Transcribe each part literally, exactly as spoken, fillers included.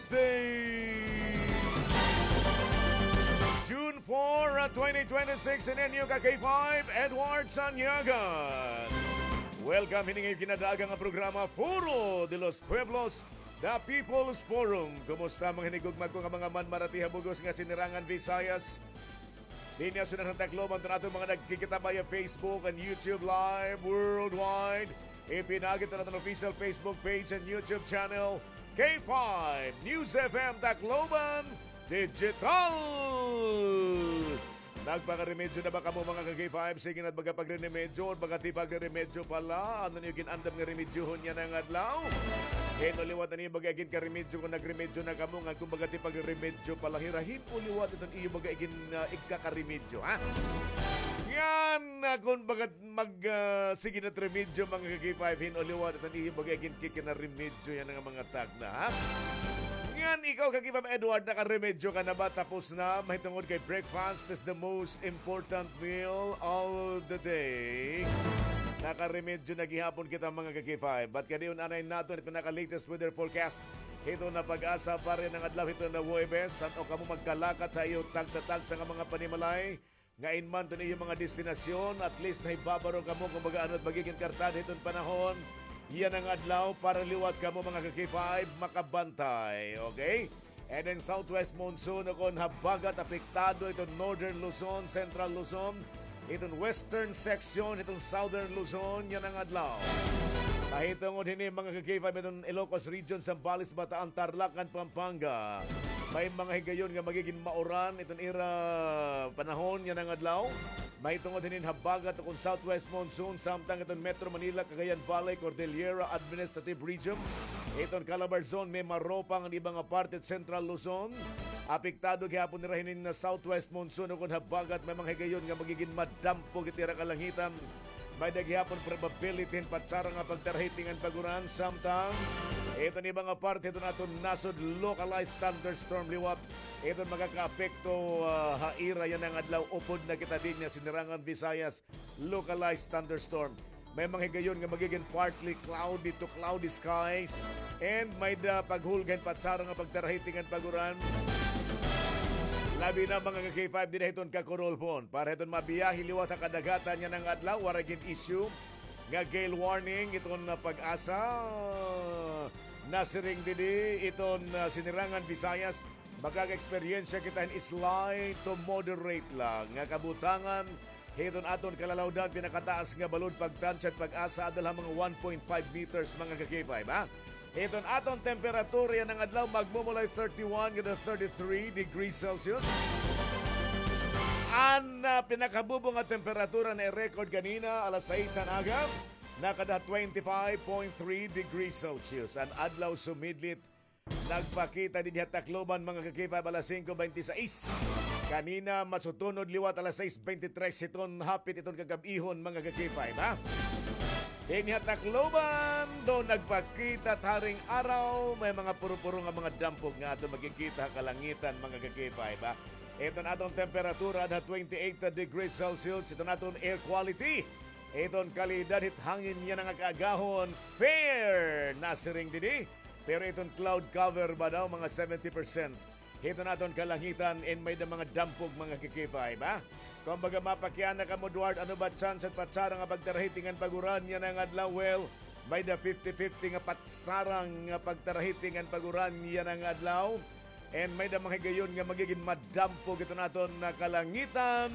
Day, June four, uh, twenty twenty-six, and then you got K five, Edward Sanyagan. Welcome, hini nga kinadaaga nga programa, Foro de los Pueblos, The People's Forum. Kumusta, mga hinigugma ko nga mga manmarati ha bug-os nga sinirangan Visayas? Dinhi ha syudad han Tacloban, iton aton mga nagkikita via Facebook and YouTube Live worldwide. Ipinaagi iton aton official Facebook page and YouTube channel, K five News F M Tacloban Digital. Nagpakaremedyo na ba kamo, mga ka-K five? Sige na, baga pagre-remedyo, baga tipag-remedyo pa la. Ano niyo gin-andam nga remedyohon yana nga adlaw? Hin-o liwat an iyo baga iginkaremedyo kon nagremedyo na kamo, ngan kon baga tipag-remedyo pa la hira, hin-o liwat iton iyo baga igin, ah, igkakaremedyo, ha? Ngan, ah, kon baga mag, ah, sige na it remedyo, mga ka-K five, hin-o liwat iton iyo baga iginkikinaremedyo yana nga mga tagna, ha? Ngan ikaw, ka-K five Edward, nakaremedyo ka na ba? Tapos na, mahitungod kay breakfast is the most important meal of the day. Nakaremedyo na gihapon kita, mga ka-K five. But kadi-on anay naton it pinaka-latest weather forecast hiton na PAGASA para yana nga adlaw hiton na Huwebes. San-o kamo magkalakat ha iyo tagsa-tagsa nga mga panimalay, nga in man iton iyo mga destinasyon, at least nahibabaro kamo kon baga ano it magigin kartad hiton panahon yana nga adlaw para liwat kamo, mga ka-K five, makabantay. Okay? And then southwest monsoon, ukon habagat, apektado iton northern Luzon, central Luzon, iton western section, iton southern Luzon yana nga adlaw. Mahitungod hini, mga ka-K five, iton Ilocos Region, Zambales, Bataan, Tarlac, ngan Pampanga. May mga higayon nga magigin mauran iton ira panahon yana nga adlaw. Mahitungod hinin habagat ukon southwest monsoon, samtang iton Metro Manila, Cagayan Valley, Cordillera Administrative Region, iton Calabarzon, Mimaropa, ngan iba nga parte it Central Luzon. Apektado gihapon nira hinin nga southwest monsoon ukon habagat, may mga higayon nga magigin madampog it ira kalangitan. May-ada gihapon probability hin patsara nga pagtarahiti ngan pag-uran, samtang iton iba nga parte hiton aton nasod, localized thunderstorm liwat iton makakaapekto, ah, ha ira yana nga adlaw. Upod na kita dinhi ha Sinirangan Visayas, localized thunderstorm. May mga higayon nga magigin partly cloudy to cloudy skies, and may-ada paghulga hin patsara nga pagtarahiti ngan pag-uran. Labi na, mga ka-K five, dinhi hiton Kakurulpon. Para hiton mabiyahe liwat ha kadagatan yana nga adlaw, waray gin-issue nga gale warning iton, ah, PAGASA. Nasiring didi iton, ah, Sinirangan Visayas, makaka-eksperyensya kita hin slight to moderate la nga kabutangan hiton aton kalalawdan, pinakataas nga balod pagtansya it PAGASA, ada la ha mga one point five meters, mga ka-K five, ha? Hiton aton temperatura yana nga adlaw, magmumulay thirty-one ngadto thirty-three degrees Celsius. An, ah, pinakabubo nga temperatura na-record kanina, alas sais han aga, nakada twenty-five point three degrees Celsius. An adlaw sumidlit, nagpakita dinhi ha Tacloban, mga ka-K five, alas singko bente sais. Kanina, masutunod liwat alas sais bente tres hiton hapit hiton kagab-ihon, mga ka-K five, ha? Dinhi ha Tacloban, daw nagpakita it haring araw, may mga puro-puro nga mga dampog nga aton makikita ha kalangitan, mga ka-K five, ha? Iton aton temperatura, ada twenty-eight degrees Celsius, iton aton air quality, iton kalidad hit hangin yana nga kaagahon, fair, nasiring didi. Pero iton cloud cover ba daw, mga seventy percent hiton aton kalangitan, and may-ada mga dampog, mga ka-K five, ha? Kumbaga, mapakiana kamo, Edward, ano ba tsansa hit patsara nga pagtarahiti ngan pag-uran yana nga adlaw? Well, may-ada fifty fifty nga patsara nga pagtarahiti ngan pag-uran yana nga adlaw. And may-ada mga higayon nga magigin madampog iton aton nga kalangitan.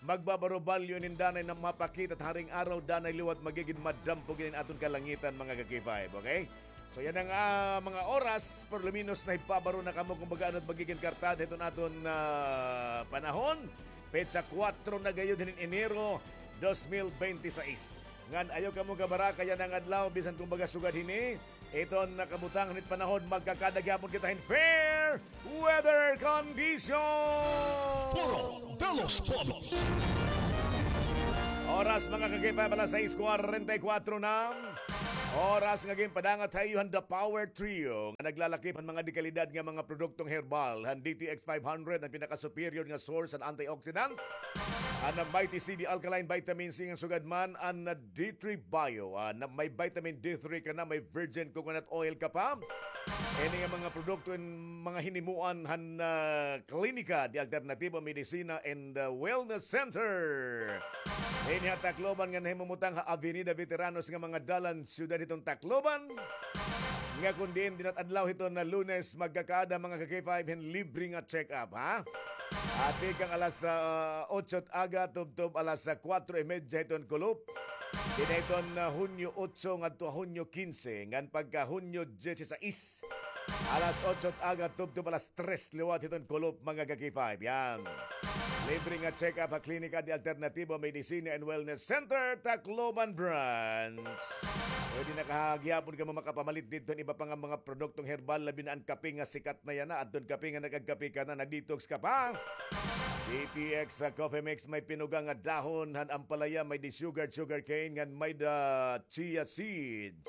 Magbabaro-balyo inin danay nga mapakita it haring araw, danay liwat magigin madampog inin aton kalangitan, mga ka-K five, okay? So yana nga mga oras, por lo menos nahibabaro na kamo kon baga ano it magigin kartad hiton aton, ah, panahon. Petsa kuwatro na gayod hinin Enero dos mil bente sais. Ngan ayaw kamo kabaraka yana nga adlaw, bisan kon baga sugad hini, iton kabutangan hit panahon, magkakada gihapon kita hin fair weather condition. Foro de los Pueblos. Oras, mga ka-K five, alas sais kwarenta y kuwatro na. Oras nga ginpadangat ha iyo han The Power Trio, nga naglalakip han mga dekalidad nga mga produktong herbal, han D T X five hundred, an pinaka-superior nga source han antioxidant. An Mighty C D Alkaline Vitamin C, ngan sugad man an D three Bio. Ah, na may vitamin D three ka na, may virgin coconut oil ka pa. Ini nga mga produkto in mga hinimuan han, ah, Klinika de Alternativo Medicina and, ah, Wellness Center. Ini ha Tacloban nga nahimumutang ha Avenida Veteranos nga mga dalan siyudad hiton Tacloban. Nga kon diin dinat adlaw hiton na Lunes magkakaada mga ka-K five hin libre nga check-up, ha? Ati kang alas, ah, otso aga tubtob alas, ah, kuwatro y medya hiton kulop. Dinhi hiton, ah, Hunyo otso ngadto Hunyo kinse, ngan pagka Hunyo diyesisais, alas otso aga tubtob alas tres liwat hiton kulop, mga ka-K five. Yan. Libre nga check-up ha Klinika de Alternativo Medicina and Wellness Center, Tacloban Branch. Pwede na ka gihapon kamo makapamalit didto hin iba pa nga mga produktong herbal, labi na an kape nga sikat na yana, adton kape nga nagagkape ka na, nag-detox ka pa. D T X sa Coffee Mix, may pinuga nga dahon han ampalaya, may di sugar, sugar cane, ngan may da chia seeds.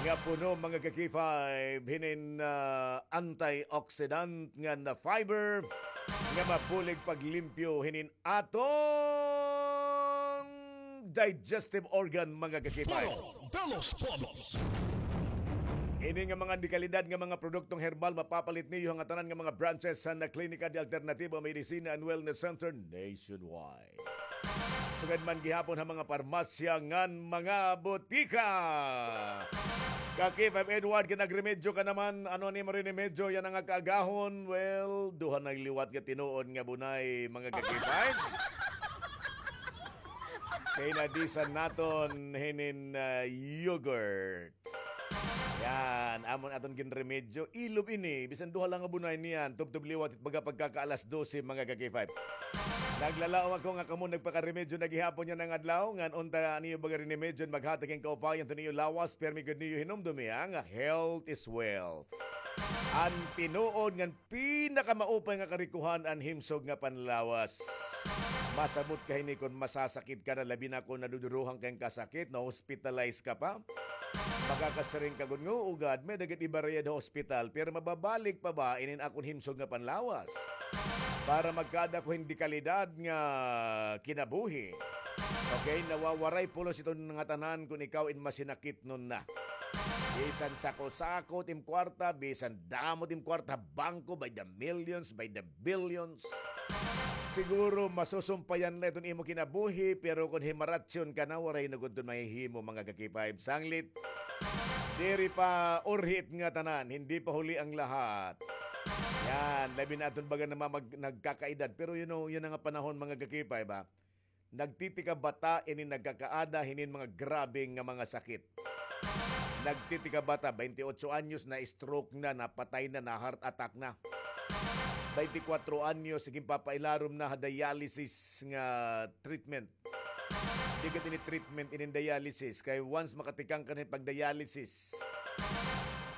Nga puno, mga ka-K five, hinin, ah, antioxidant ngan fiber, nga mabulig paglimpyo hinin aton digestive organ, mga ka-K five. Foro de los Pueblos. Ini nga mga dekalidad nga mga produktong herbal mapapalit niyo ha ngatanan nga mga branches han Klinika de Alternativo Medicina and Wellness Center nationwide. Sugad man gihapon ha mga parmasya ngan mga botika. Ka-K five Edward, kay nagremedyo ka naman. Ano an imo rinimedyo yana nga kaagahon? Well, duha na liwat nga tinuod nga bunay, mga ka-K five. Kay nadisan naton hinin, ah, yogurt. Yan, amon aton ginremedyo. Ilob ini, bisan duha lang nga bunay niyan. Tubtob liwat, baga pagkaka alas dose, mga ka-K five. Naglalaom ako nga kamo nagpakaremedyo na gihapon yana nga adlaw. Ngan unta niyo baga rinimedyo, maghatag hin kaupayan to niyo lawas, permi gud niyo hinumdumi, ha, nga health is wealth. An tinuod ngan pinakamaupay nga karikohan an himsog nga panlawas. Masabot ka hini kon masasakit ka na, labi na kon naduduruhan ka hin kasakit, na-hospitalize ka pa. Makakasiring ka gud nga, "Oo gad, may-ada gad ibarayad ha ospital, pero mababalik pa ba inin akon himsog nga panlawas? Para magkaada ko hin dekalidad nga kinabuhi." Okay, nawawaray pulos iton ngatanan kon ikaw in masinakitnon na. Bisan sako-sako it im kwarta, bisan damo it im kwarta ha bangko, by the millions, by the billions. Siguro masusumpayan la iton imo kinabuhi, pero kon himaratyon ka na, waray na gud iton mahihimo, mga ka-K five. Sanglit, diri pa urhi it ngatanan, hindi pa huli ang lahat. Yan, labi na aton baga na mamag-, nagkakaedad. Pero you know, yana nga panahon, mga ka-K five, ha? Nagtitikabata ini nagkakaada hinin mga grabe nga mga sakit. Nagtitikabata, baynte otso anyos, na-stroke na, napatay na, na-heart attack na. Baynte kwatro anyos, sige, papailarom na ha dialysis nga treatment. Di gad ini treatment, ini dialysis. Kay once makatikang ka na pag-dialysis,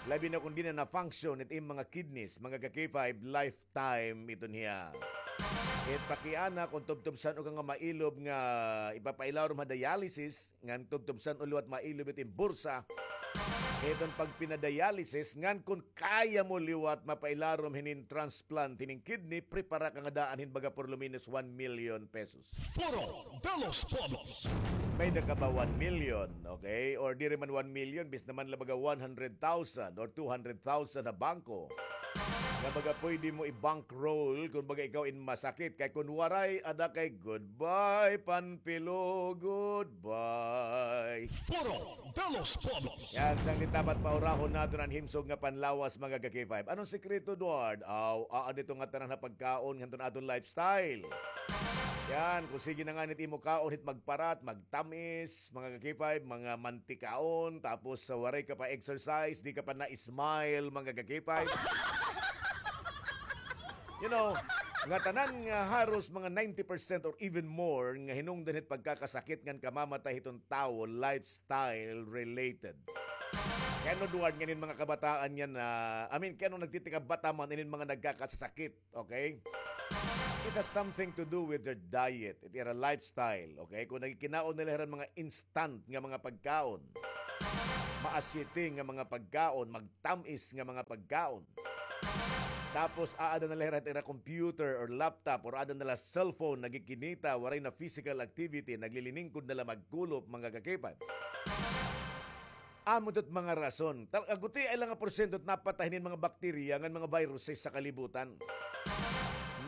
labi na kon diri na na-function it im mga kidneys, mga ka-K five, life time iton hiya. Kay pakiana kon tubtob san-o ka nga mailob nga ipapailarom ha dialysis, ngan tubtob san-o liwat mailob it im bursa, iton pagpina-dialysis, ngan kon kaya mo liwat mapailarom hinin transplant hinin kidney, prepara ka nga daan hin baga por lo menos one million pesos. Foro de los Pueblos. May-ada ka ba one million, okay? Or diri man one million, bis naman la baga one hundred thousand or two hundred thousand ha bangko. Nga baga pwede mo i-bankroll kon baga ikaw in masakit. Kay kon waray, ada kay goodbye, Panpilo, goodbye. Foro de los Pueblos. Yan, sanglit dapat paurahon naton an himsog nga panlawas, mga ka-K five. Anong sikreto, Edward? Aw, aada ito nga tanan ha pagkaon, ngadto ha aton lifestyle. Yan, kung sige na ngani it imo kaon, hit magparat, magtamis, mga ka-K five, mga mantikaon, tapos sa waray ka pa exercise, di ka pa na-smile, mga ka-K five. You know, ngatanan nga haros mga ninety percent or even more nga hinungdan hit pagkakasakit ngan kamamatay hiton tawo, lifestyle related. Kay ano, Edward, ngan in mga kabataan niyan na, I mean, kay ano nagtitikabata man inin mga nagkakasakit, okay? It has something to do with their diet, it ira lifestyle, okay? Kung nagkikinaon nila hira mga instant nga mga pagkaon, maasyete nga mga pagkaon, magtamis nga mga pagkaon, tapos aada na la hira it ira computer or laptop or aada na la cellphone, nagkikinita, waray na physical activity, naglilingkod na la magkulop, mga ka-K five. Amo ito't mga rason. Tal-, aguti ay lang nga porsyento it napatay hinin mga bakterya ngan mga viruses sa kalibutan.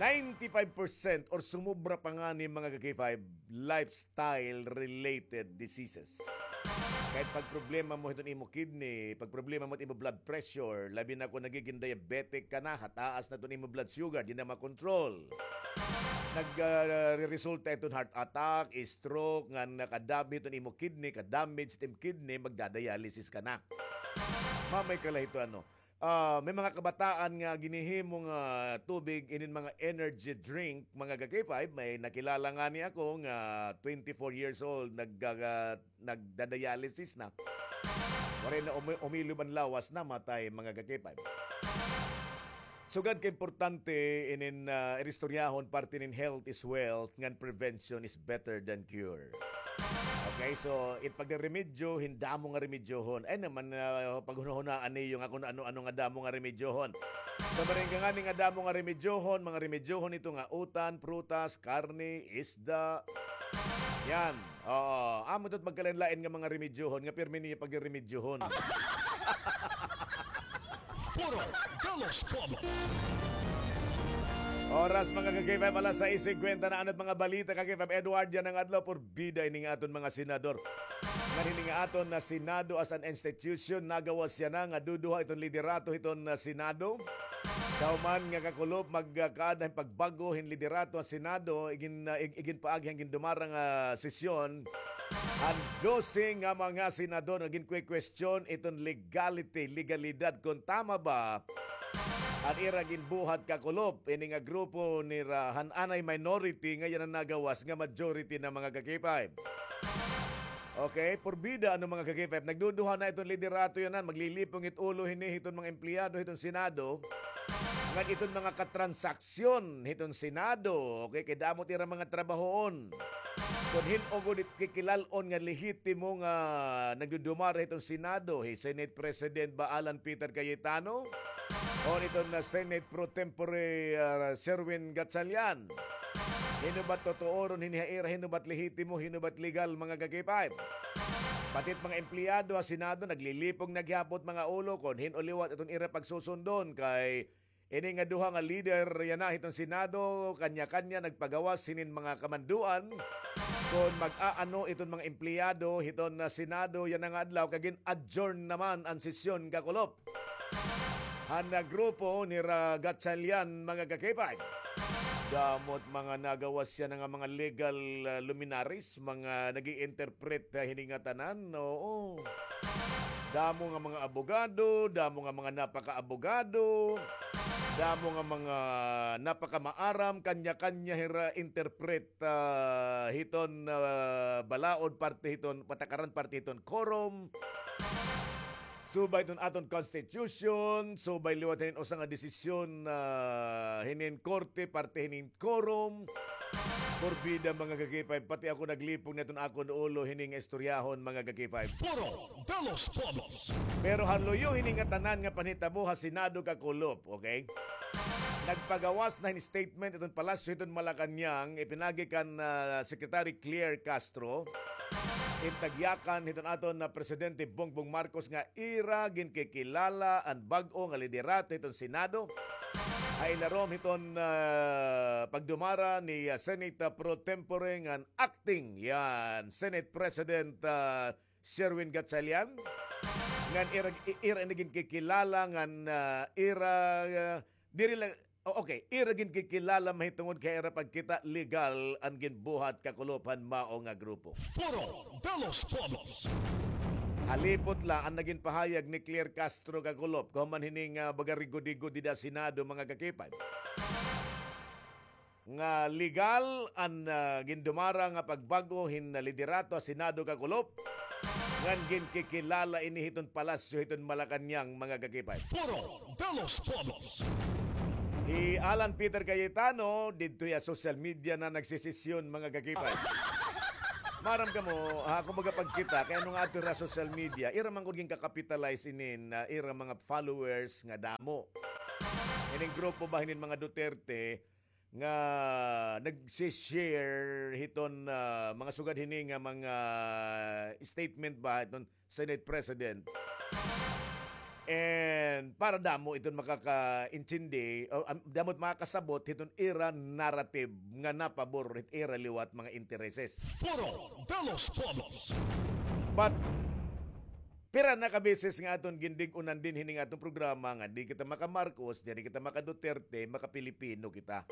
Ninety-five percent or sumobra pa ngani, mga ka-K five, lifestyle-related diseases. Kahit pagproblema mo hiton imo kidney, pagproblema mo it imo blood pressure, labi na kon nagiging diabetic ka na, hataas na iton imo blood sugar, di na makontrol. Nag, ah, re-resulta iton heart attack, stroke, nga nakadabi iton imo kidney, kadamage it imo kidney, magdadialysis ka na. Mamay ka la hito, ano. Ah, may mga kabataan nga ginhihimo nga tubig, inin mga energy drink, mga ka-K five, may nakilala ngani ako nga twenty-four years old, nag-, ah, nagda-dialysis na. Waray na umi-, umilob an lawas, namatay, mga ka-K five. Sugad ka importante inin, ah, iristoryahon, parte nin health is wealth, ngan prevention is better than cure. Okay, so it pagreremedyo, hin damo nga remedyohon. Ay naman, ah, paghunahunaan niyo nga kon ano-ano nga damo nga remedyohon. So, baring ka ngani nga damo nga remedyohon, mga remedyohon ito nga utan, prutas, karne, isda. Yan. Oo. Amo ito't magkalain-lain nga mga remedyohon nga pirmi niyo pagreremedyohon. Foro de los Pueblos. Oras, mga ka-K five, alas sais singkwenta na. Ano't mga balita, ka-K five Edward, yana nga adlaw? Porbida ini nga aton mga senador. Ngan hini nga aton nga Senado as an institution, nagawas yana nga duduha iton liderato hiton, ah, Senado. Kahuman nga kakulop, magkaada hin pagbag-o hin liderato an Senado, igin-, ah, ig-, iginpaagi han gindumara nga sesyon. An dose nga mga senador nga ginkukwestiyon iton legality, legalidad, kon tama ba an ira ginbuhat, kakulop, ini nga grupo nira han anay minority, nga yana nagawas nga majority na, mga ka-K five. Okay, porbida, ano, mga ka-K five, nagduduha na iton liderato yana, maglilipong it ulo hini hiton mga empleyado hiton Senado, ngan iton mga katransaksyon hiton Senado, okay, kay damo it ira mga trabahoon. Kon hin-o gud it kikilal-on nga lehitimo nga nagdudumara hiton Senado, hi Senate President ba Alan Peter Cayetano, o iton nga Senate pro tempore, ah, Sherwin Gatchalian? Hin-o ba it totooron hini ha ira, hin-o ba it lehitimo, hin-o ba it legal, mga ka-K five? Pati it mga empleyado ha Senado, naglilipong na gihapon it mga ulo kon hin-o liwat iton ira pagsusundon, kay ini nga duha nga lider yana hiton Senado, kanya-kanya nagpagawas hinin mga kamanduan kon mag-aano iton mga empleyado hiton nga Senado yana nga adlaw, kay gin-adjourn naman an sesyon, kakulop, han grupo nira Gatchalian, mga ka-K five. Damo it mga nagawas yana nga mga legal, ah, luminaries, mga nag-i-interpret, ah, hini ngatanan, oo. Damo nga mga abogado, damo nga mga napakaabogado, damo nga mga napakamaaram, kanya-kanya hira interpret, ah, hiton, ah, balaod parte hiton, patakaran parte hiton quorum. Subay iton aton constitution, subay liwat hinin usa nga desisyon, ah, hinin korte, parte hinin quorum. Porbida, mga ka-K five, pati ako naglipong na iton akon ulo hini nga istoryahon, mga ka-K five. Foro de los Pueblos. Pero han luyo hini ngatanan nga panhitabo ha Senado, kakulop, okay? Nagpagawas na hin statement iton Palasyo hiton Malacañang, ipinagi kan, ah, Secretary Claire Castro, it tagyakan hiton aton nga Presidente Bongbong Marcos nga ira ginkikilala an bag-o nga liderato hiton Senado. Ha ilarom hiton, ah, pagdumara ni, ah, Senate pro tempore ngan acting, yan, Senate President, ah, Sherwin Gatchalian. Ngan ira, i-, ira ini ginkikilala ngan, ah, ira, ah, diri la, o, okay, ira ginkikilala mahitungod kay ira pagkita legal an ginbuhat, kakulop, han mao nga grupo. Foro de los Pueblos. Halipot la an nagin pahayag ni Claire Castro, kakulop, kahuman hini nga baga rigod-rigod dida Senado, mga ka-K five, nga legal an, ah, gindumara nga pagbag-o hin liderato ha Senado, kakulop, ngan ginkikilala ini hiton Palasyo hiton Malacañang, mga ka-K five. Foro de los Pueblos. Hi Alan Peter Cayetano, didto ha social media na nagsisisyon, mga ka-K five. Maaram kamo, ha, kumbaga pagkita, kay ano nga adto hira social media, ira man gud ginkakapitalize inin, ah, ira mga followers nga damo. Ining grupo ba hinin mga Duterte, nga nagsi-share hiton, ah, mga sugad hini nga mga statement ba hiton Senate President. And para damo iton makakaintindi, o, am, damo it makakasabot hiton ira narrative nga napabor hit ira liwat mga intereses. Foro de los Pueblos. But pira na ka beses nga aton gindig-unan dinhi nga aton programa nga di kita maka-Marcos, diri kita maka-Duterte, maka-Pilipino kita.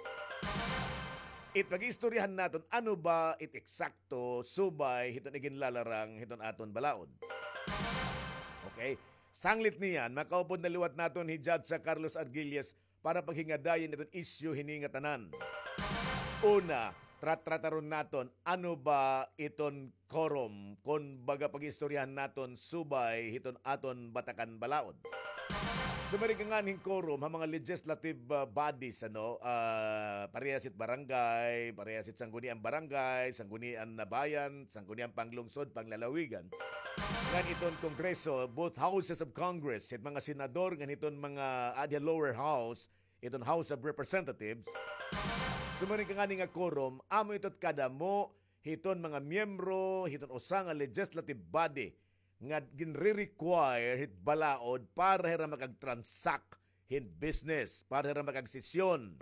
It pag-iistoryahan naton, ano ba it eksakto subay hiton iginlalarang hiton aton balaod? Okay? Sanglit niyan, makaupod na liwat naton hi Judge Carlos Argilles para paghingadayon iton isyu hini nga tanan. Una, tra-, trataron naton, ano ba iton quorum, kon baga pag-iistoryahan naton subay hiton aton batakan balaod. Sumiring ka nganhi hin quorum ha mga legislative, ah, bodies, ano, ah, parehas hit barangay, parehas hit sangguniang barangay, sanggunian na bayan, sangguniang panglungsod, panglalawigan. Ngan iton Kongreso, both houses of Congress, hit mga senador, ngan hiton mga, ah, adi ha lower house, iton House of Representatives. Sumiring ka nganhi nga quorum, amo ito it kadamo hiton mga miyembro hiton usa nga legislative body nga ginre-require hit balaod para hira makag-transact hin business, para hira makagsesyon,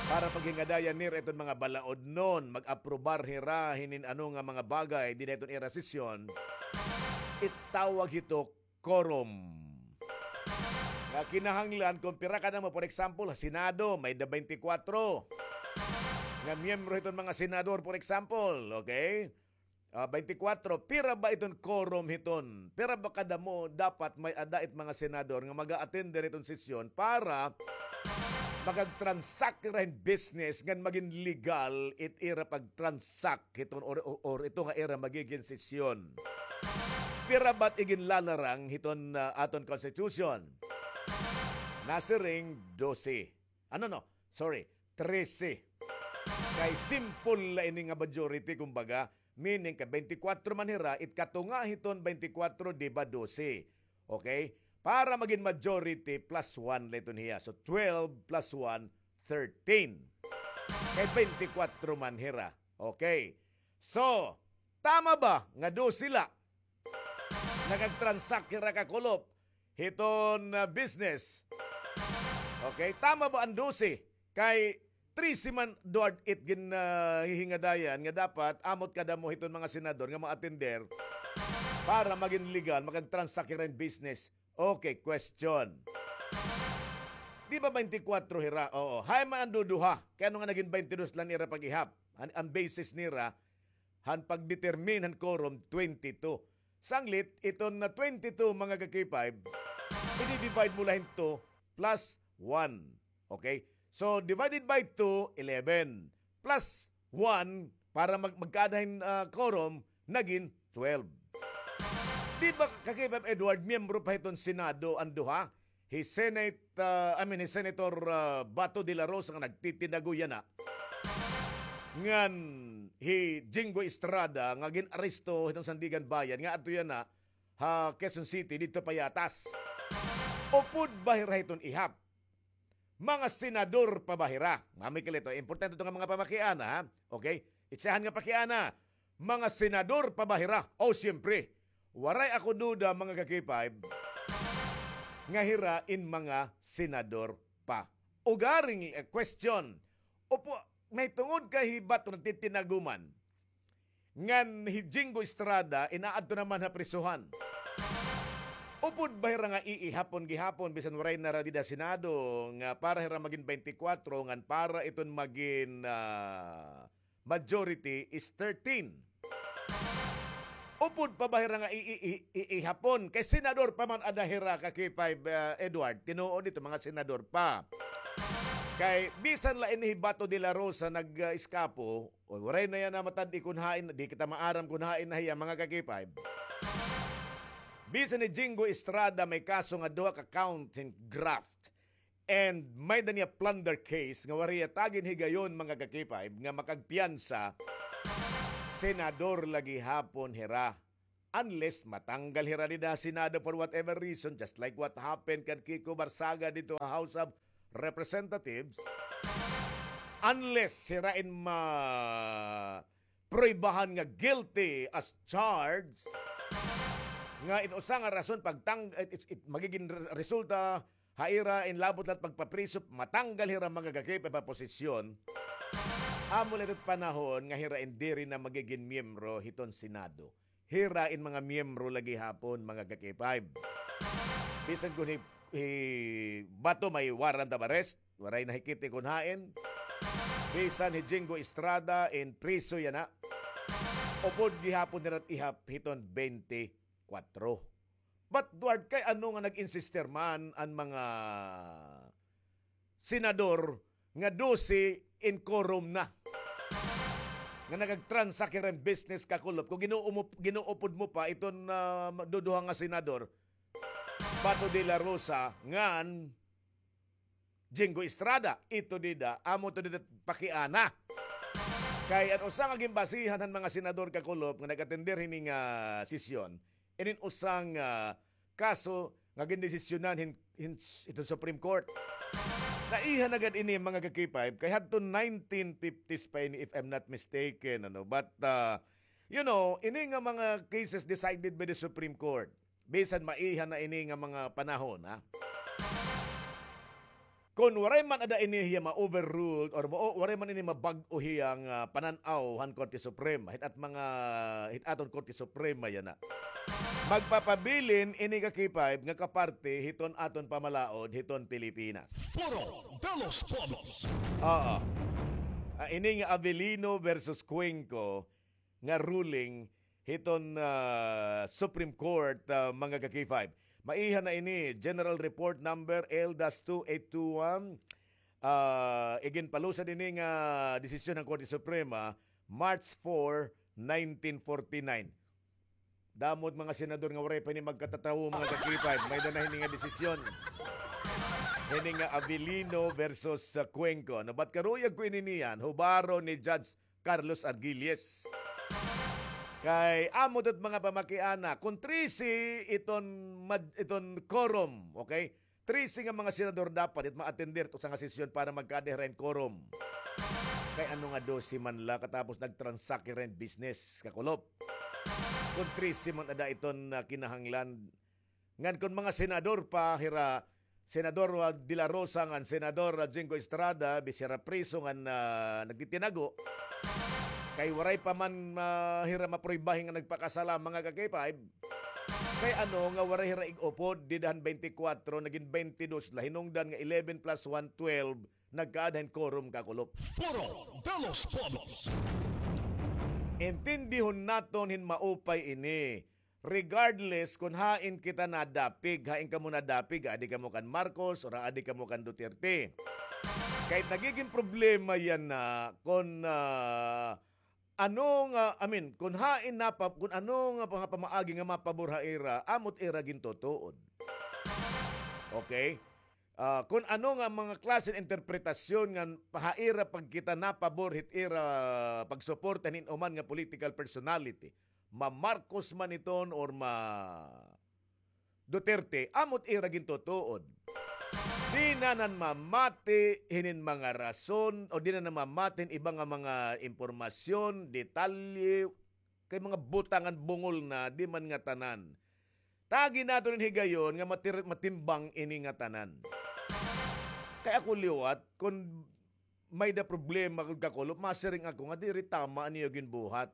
para paghingadayan nira iton mga balaodnon, mag-aprobar hira hinin ano nga mga bagay dida hiton ira sesyon, itawag hito quorum. Nga kinahanglan, kung pira kadamo, for example, ha Senado, may-ada twenty-four nga miyembro hiton mga senador, for example, okay? Ah, twenty-four, pira ba iton quorum hiton? Pira ba kadamo dapat may-ada it mga senador nga mag-a-attend hiton sesyon para makag-transact hira hin business ngan magin legal it ira pag-transact hiton or, or, or ito nga ira magigin sesyon? Pira ba it iginlalarang hiton, ah, aton constitution? Nasiring dose. Ano, no? Sorry, trese. Kay simple la ini nga majority, kumbaga, meaning kay twenty-four man hira, it katunga hiton twenty-four, di ba, dose. Okay? Para magin majority, plus one la iton hiya. So, twelve plus one, thirteen. Kay twenty-four man hira. Okay. So, tama ba nga dose la? Nakag-transact hira, kakulop, hiton, ah, business. Okay, tama ba an dose? Kay trese man, Edward, it gin, ah, hihingadayan nga dapat amo it kadamo hiton mga senador nga ma-attender para magin legal, makag-transact hira hin business. Okay, question. Di ba twenty-four hira? Oo. Hain man an duduha? Kay ano nga nagin twenty-two la an ira pag-ihap? An, an basis nira, han pag-determine han quorum, twenty-two. Sanglit, iton nga twenty-two, mga ka-K five, i-divide mo la hin two plus one. Okay? So, divided by two, eleven. Plus one, para mag-, magkaada hin, ah, quorum, nagin twelve. Di ba, ka-K five Edward, miyembro pa hiton Senado an duha? Hi Senate, ah, I mean, hi Senator, ah, Bato de la Rosa nga nagtitinago yana. Ngan hi Jinggoy Estrada nga gin-aresto hiton Sandiganbayan nga adto yana ha Quezon City, didto pa yatas. Upod ba hira hiton ihap? Mga senador pa ba hira? Mami Kilito, importante ito nga mga pamakiana, ha? Okay? Itsahan nga pakiana. Mga senador pa ba hira? O, siyempre. Waray ako duda, mga ka-K five, nga hira in mga senador pa. Ugaring, eh, question. Upo, may tungod kay hi Bato nagtitinaguman. Ngan hi Jinggoy Estrada, inaadto naman ha prisuhan. Upod ba hira nga iihapon gihapon, bisan waray na hira dida Senado, nga para hira magin twenty-four, ngan para iton magin, ah, majority is thirteen. Upod pa ba hira nga i-, i-, i-, iihapon? Kay senador pa man ada hira, ka-K five, ah, Edward. Tinuod ito, mga senador pa. Kay bisan la ini hi Bato de la Rosa nag-, ah, eskapo, o, waray na yana matad-i kun hain, di kita maaram kun hain na hiya, mga ka-K five. Bisan ni Jinggoy Estrada may kaso nga duha ka count hin graft. And may-ada niya plunder case nga waray hiya tagin higayon, mga ka-K five, nga makagpiyansa, senador la gihapon hira. Unless matanggal hira dida ha Senado for whatever reason, just like what happened kan Kiko Barsaga didto ha House of Representatives. unless hira in ma-, pruwebahan nga guilty as charged, nga in usa nga rason pagtang-, it, it, it, magigin re-, resulta ha ira in labot la it pagpapriso, matanggal hira mga ka-K five ha posisyon, amo la it panahon nga hira in diri na magigin miyembro hiton Senado. Hira in mga miyembro la gihapon, mga ka-K five. Bisan kun hi, hi Bato may warrant of arrest, waray na hikiti kun hain. Bisan hi Jinggoy Estrada in priso yana. Upod gihapon hira it ihap hiton twenty-four. But Duarte, kay ano nga nag-insister man an mga senador nga dose in quorum na, nga nagag-transact hira hin business, kakulop? Kung ginuumo-, ginuupod mo pa iton, ah, duduha nga senador, Bato de la Rosa ngan Jinggoy Estrada, ito dida, amo ito dida pakiana. Kay an usa nga ginbasihan han mga senador, kakulop, nga nag-atender hini nga sesyon, inin usa nga, ah, kaso nga gindesisyonan hin, hin, hiton Supreme Court. Naiha na gad ini, mga ka-K five, kay hadton nineteen fifties pa ini, if I'm not mistaken, ano. But, ah, you know, ini nga mga cases decided by the Supreme Court, bisan maiha na ini nga mga panahon, ha? Kon waray man ada ini hiya ma-overruled or ma-, waray man ini mabag-o hiya nga panan-aw han Korte Suprema, hit at mga, hit aton Korte Suprema yana, magpapabilin ini, ka-K five, nga kaparte hiton aton pamalaod hiton Pilipinas. Foro de los Pueblos. Oo. Ah, ini nga Avellino versus Cuenco nga ruling hiton, ah, Supreme Court, ah, mga ka-K five. Maiha na ini, General Report Number L dash two eight two one. Ah, iginpalusad ini nga desisyon han Korte Suprema, March four, nineteen forty-nine. Damo it mga senador nga waray pa ini magkatatawo, mga ka-K five. May-ada na hini nga desisyon. Hini nga Avellino versus, ah, Cuenco. No, but karuyag ko ini niyan, hubaro ni Judge Carlos Argilles. Kay amo ito mga pamakiana, kon trese iton mad-, iton quorum, okay? Trese nga mga senador dapat it ma-attender it usa nga sesyon para magkaada hira hin quorum. Kay ano nga dose man la katapos nag-transact hira hin business, kakulop? Kon trese man ada iton, ah, kinahanglan, ngan kon mga senador pa hira, Senador, ah, De La Rosa ngan Senador, ah, Jinggoy Estrada, bis hira priso ngan, ah, nagtitinago, kay waray pa man, ah, hira mapruwebahi nga nagpakasala, mga ka-K five. Kay ano nga waray hira ig-upod, dida han twenty-four, nagin twenty-two la, hinungdan nga eleven plus one, twelve, nagkaada hin quorum, kakulop. Foro de los Pueblos. Intindihon naton hin maupay ini. Regardless kon hain kita nadapig, hain kamo nadapig, adi kamo kan Marcos or adi kamo kan Duterte. Kay nagigin problema yana kon, ah, ano nga, I mean, kon hain napa-, kon ano nga mga pamaagi nga mapabor ha ira, amo it ira gintutuod. Okay? Ah, kon ano nga mga klase hin interpretasyon nga ha ira pagkita napabor hit ira pagsuporta hin hin-o man nga political personality, ma-Marcos man iton or ma-Duterte, amo it ira gintutuod. Di na nan mamati hinin mga rason o di na nan mamati hin iba nga mga impormasyon, detalye, kay mga butangan bungol na, di man ngatanan. Tagi naton hin higayon nga matir-, matimbang ini ngatanan. Kay ako liwat, kon may-ada problema gud, kakulop, masiring ako nga diri tama an iyo ginbuhat.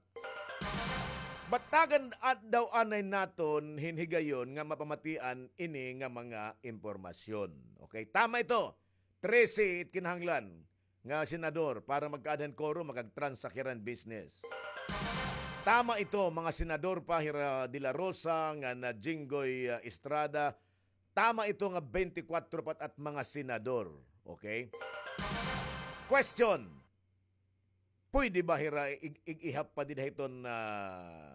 But tagan a-, daw anay naton hin higayon nga mapamatian ini nga mga impormasyon. Okay, tama ito. Trese it kinahanglan nga senador para magkaada hin quorum, makag-transact hira hin business. Tama ito, mga senador pa hira De La Rosa ngan Jinggoy, ah, Estrada. Tama ito nga twenty-four pa it mga senador. Okay? Question. Pwede ba hira ig-, ig-, ihap pa dida hiton, ah,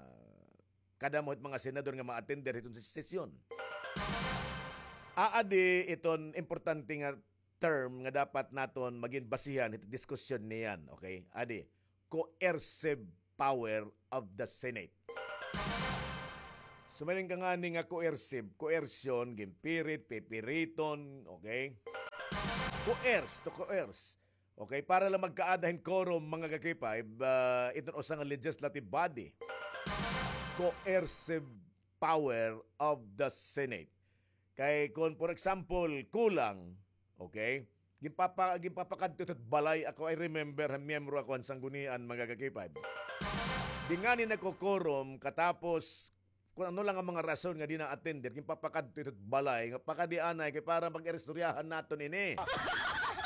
kadamo hit mga senador nga ma-attender hiton ses-, sesyon? Aadi iton importante nga term nga dapat naton magin basihan hit diskusyon niyan, okay? Adi, coercive power of the Senate. Sumaling ka ngani nga coercive, coercion, ginpirit, pipiriton, okay? Coerce, to coerce. Okay, para lang magkaada hin quorum, mga ka-K five, ah, iton usa nga legislative body. Coercive power of the Senate. Kay kun, for example, kulang, okay, ginpapa-, ginpapakadto ito balay ako, I remember, han miyembro ako han Sanggunian, mga ka-K five. Di ngani nagko-quorum, katapos, kun ano lang an mga rason nga di na-attender, ginpapakadto ito balay, nga pakadi anay, kay para mag-iristoryahan naton ini.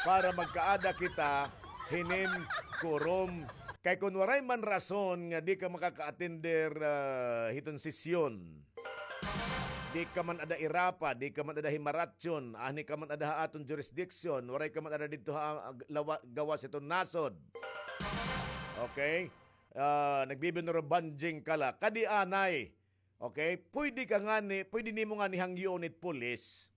Para magkaada kita hinin quorum. Kay kun waray man rason nga di ka makaka-attender, ah, hiton sesyon, di ka man ada irapa, di ka man ada himaratyon, anhi ka man ada ha aton jurisdiction, waray ka man ada didto ha, ah, lawa-, gawas hiton nasod. Okay? Ah, nagbibinuro-banjing ka la. Kadi anay. Okay? Pwede ka ngani, pwede nimo ngani hangyoon it pulis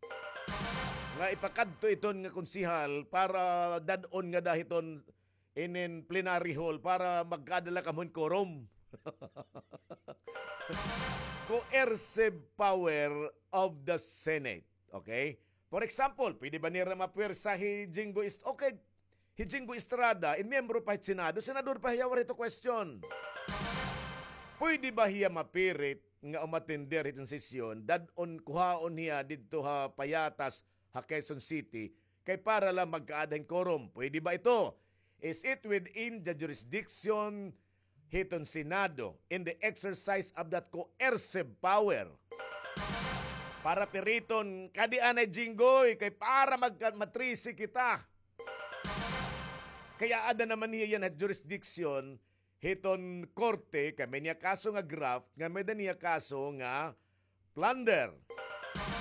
nga ipakadto iton nga konsehal para dad-on ngada hiton inin plenary hall para magkaada la kamo hin quorum. Coercive power of the Senate. Okay? For example, pwede ba nira mapuwersa hi Jinggoy Est-, okay, hi Jinggoy Estrada, in miyembro pa hit Senado, senador pa hiya, waray ito question. Pwede ba hiya mapirit nga umattender hiton sesyon, dad-on, kuhaon hiya didto ha Payatas, ha Quezon City, kay para lang magkaada hin quorum? Pwede ba ito? Is it within the jurisdiction hiton Senado in the exercise of that coercive power? Para piriton, kadi anay Jinggoy, kay para magka-, matrisi kita. Kay aada naman hiya yana ha jurisdiction hiton korte, kay may-ada niya kaso nga graft, nga may-ada niya kaso nga plunder.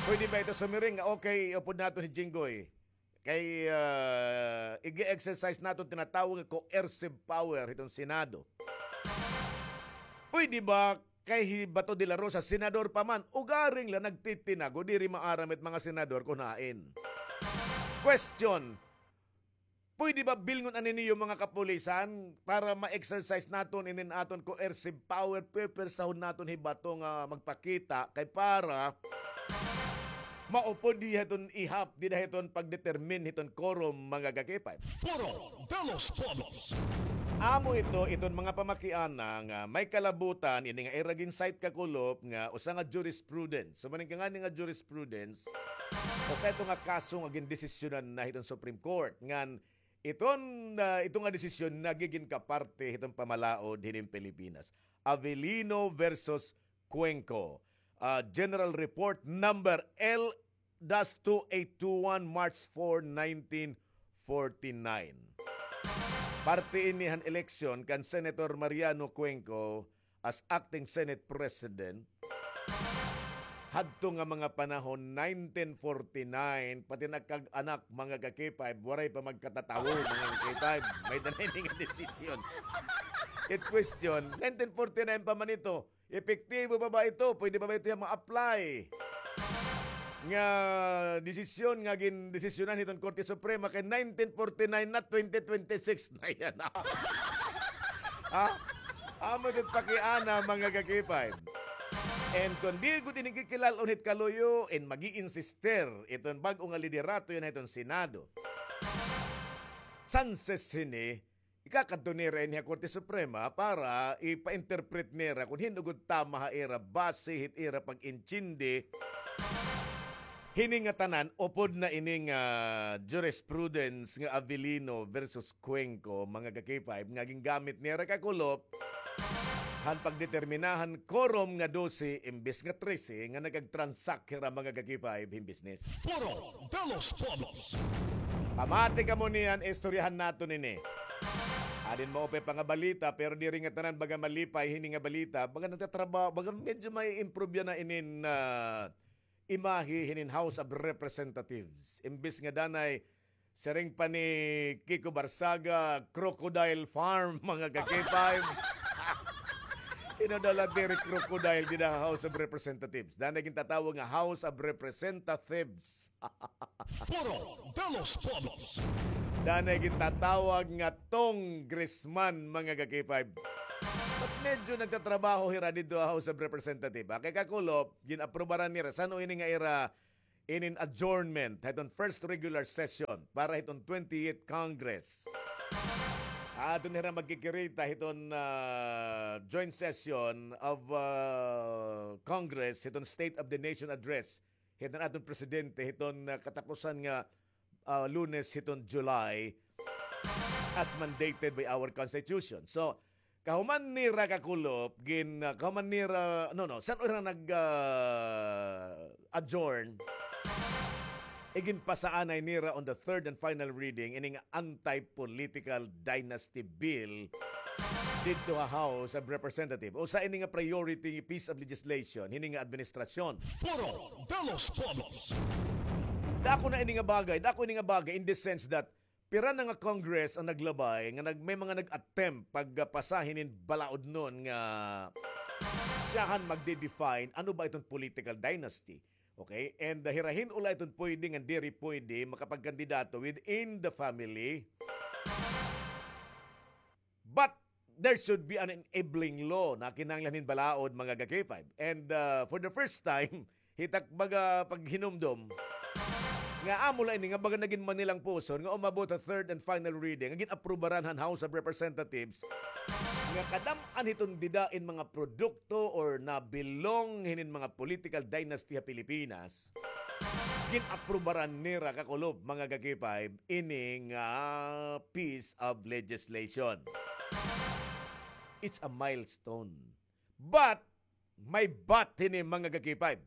Pwede ba ito sumiring nga, okay, iupod naton hi Jinggoy? Kay, ah, ig-exercise naton tinatawag nga coercive power hiton Senado. Pwede ba kay hi Bato de la Rosa, senador pa man, ugaring la nagtitinago, diri maaram it mga senador kun hain. Question, pwede ba bilngon anay niyo mga kapulisan para ma-exercise naton inin aton coercive power, pupuwersahon naton hi Bato nga magpakita kay para maupod hiya hiton ihap dida hiton pagdetermine hiton quorum, mga ka-K five. Foro de los Pueblos. Amo ito, iton mga pamakiana nga may kalabutan ini nga ira gin-cite kakulop nga usa nga jurisprudence. So, maning ka ngani nga jurisprudence, usa ito nga kaso nga gindesisyonan na hiton Supreme Court ngan iton, ah, ito nga desisyon nagigin kaparte hiton pamalaod hinin Pilipinas. Avellino versus Cuenco. Ah, General Report number L dash two eight two one, March four, nineteen forty-nine. Parte ini han eleksyon kan Senator Mariano Cuenco as acting Senate President. Hadto nga mga panahon, nineteen forty-nine, pati nagkag-anak, mga ka-K five, waray pa magkatatawo, mga ka-K five. May-ada na ini nga desisyon. It question, nineteen forty-nine pa man ito, epektibo pa ba ito? Pwede pa ba ito nga ma-apply nga desisyon nga gindesisyonan hiton Korte Suprema kay nineteen forty-nine na, twenty twenty-six na yana. Ha? Amo ito pakiana, mga ka-K five. And kon diri gud ini kikilal-on hit kaluyo, and mag-iinsister iton bag-o nga liderato yana hiton Senado, chances hini ikakadto nira ini ha Korte Suprema para ipa-interpret nira kon hin-o gud tama ha ira base hit ira pag-intindi. Hini nga tanan, upod na ini nga jurisprudence nga Avellino versus Cuenco, mga ka-K five, nga gingamit nira kakulop han pagdetermina han quorum nga dose imbes nga trese nga nagag-transact hira, mga ka-K five, hin business. Foro de los Pueblos. Pamati kamo niyan, istoryahan naton ini. Adin maupay pa nga balita, pero diri ngatanan baga malipay hini nga balita. Baga nagtatrabaho, baga medyo may improve yana inin, ah, imahe hinin House of Representatives. Imbes nga danay, siring pa ni Kiko Barsaga, crocodile farm, mga ka-K five. Hin-o daw la diri crocodile dida ha House of Representatives? Danay gintatawag nga House of Representatives. Foro de los Pueblos. Danay gintatawag nga congressman, mga ka-K five. But medyo nagtatrabaho hira didto ha House of Representatives. Ah, kay kakulop, gin-aprobaran nira. San-o ini nga ira inin adjournment hiton first regular session para hiton twenty-eighth Congress. Aton hira magkikirita hiton, ah, joint session of, ah, Congress hiton State of the Nation Address hiton aton presidente hiton, ah, katapusan nga, ah, Lunes hiton July, as mandated by our Constitution. So, kahuman nira, Kakulop, gin, ah, kahuman nira, no, no, san-o hira nag, ah, adjourn, iginpasaanay nira on the third and final reading ini nga anti-political dynasty bill didto ha House of Representatives. Usa ini nga priority piece of legislation hini nga administrasyon. Foro de los Pueblos. Dako na ini nga bagay, dako ini nga bagay in the sense that pira na nga Congress an naglabay nga nag-, may mga nag-attempt pagpasa hinin balaod nun nga siyahan magde-define ano ba iton political dynasty. Okay? And, uh, hira hin-o la iton pwede ngan diri pwede makapagkandidato within the family. But there should be an enabling law na kinahanglan hin balaod, mga ka-K five. And, uh, for the first time, hit ak baga paghinumdom nga amo la ini nga baga nagin manilang puson nga umabot ha third and final reading, nga gin-aprubaran han House of Representatives, nga kadam-an hiton dida in mga produkto or nabilong hinin mga political dynasty ha Pilipinas, gin-aprubaran nira, Kakulop, mga ka-K five, ini nga piece of legislation. It's a milestone. But, may but hini, mga ka-K five.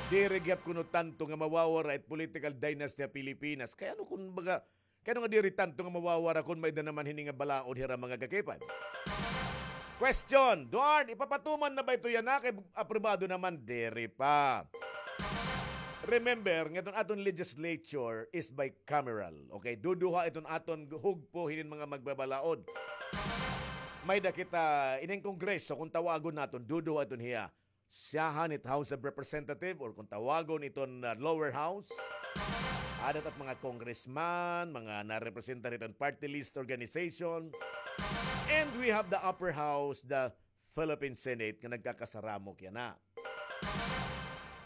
Diri gihap kuno tanto nga mawawara it political dynasty ha Pilipinas. Kay ano kun baga, kay ano nga diri tanto nga mawawara kun may-ada naman hini nga balaod hira, mga ka-K five? Question, Duarte, ipapatuman na ba ito yana? Kay aprobado naman, diri pa. Remember, nga iton aton legislature is bicameral. Okay? Duduha iton aton hugpo hinin mga magbabalaod. May-ada kita ining Kongreso, kung tawagon naton, duduha iton hiya. Siyahan it House of Representative or kung tawagon iton, uh, lower house. Ada it mga congressman, mga narepresentar iton party list organization. And we have the upper house, the Philippine Senate, nga nagkakasaramok yana.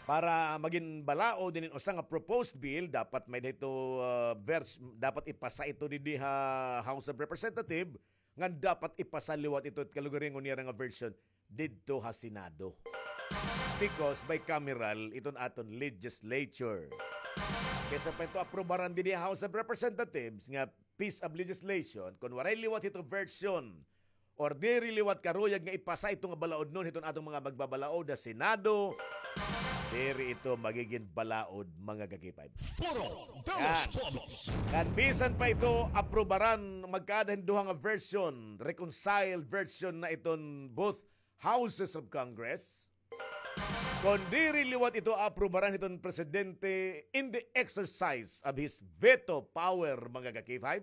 Para magin balaod inin usa nga proposed bill, dapat may-ada ito, uh, vers-, dapat ipasa ito didi ha House of Representative, ngan dapat ipasa liwat ito it kalugaringon nira nga version didto ha Senado. Because bicameral iton aton legislature. Kaysa pa ito aprubaran didi ha House of Representatives nga piece of legislation, kun waray liwat ito version or diri liwat karuyag nga ipasa ito nga balaod nun hiton aton mga magbabalaod ha Senado, diri ito magigin balaod, mga ka-K five. Foro de los Pueblos. Ngan bisan pa ito aprubaran, magkaada hin duha nga version, reconciled version na iton both houses of Congress. Kon diri liwat ito aprubaran hiton presidente in the exercise of his veto power, mga ka-K five,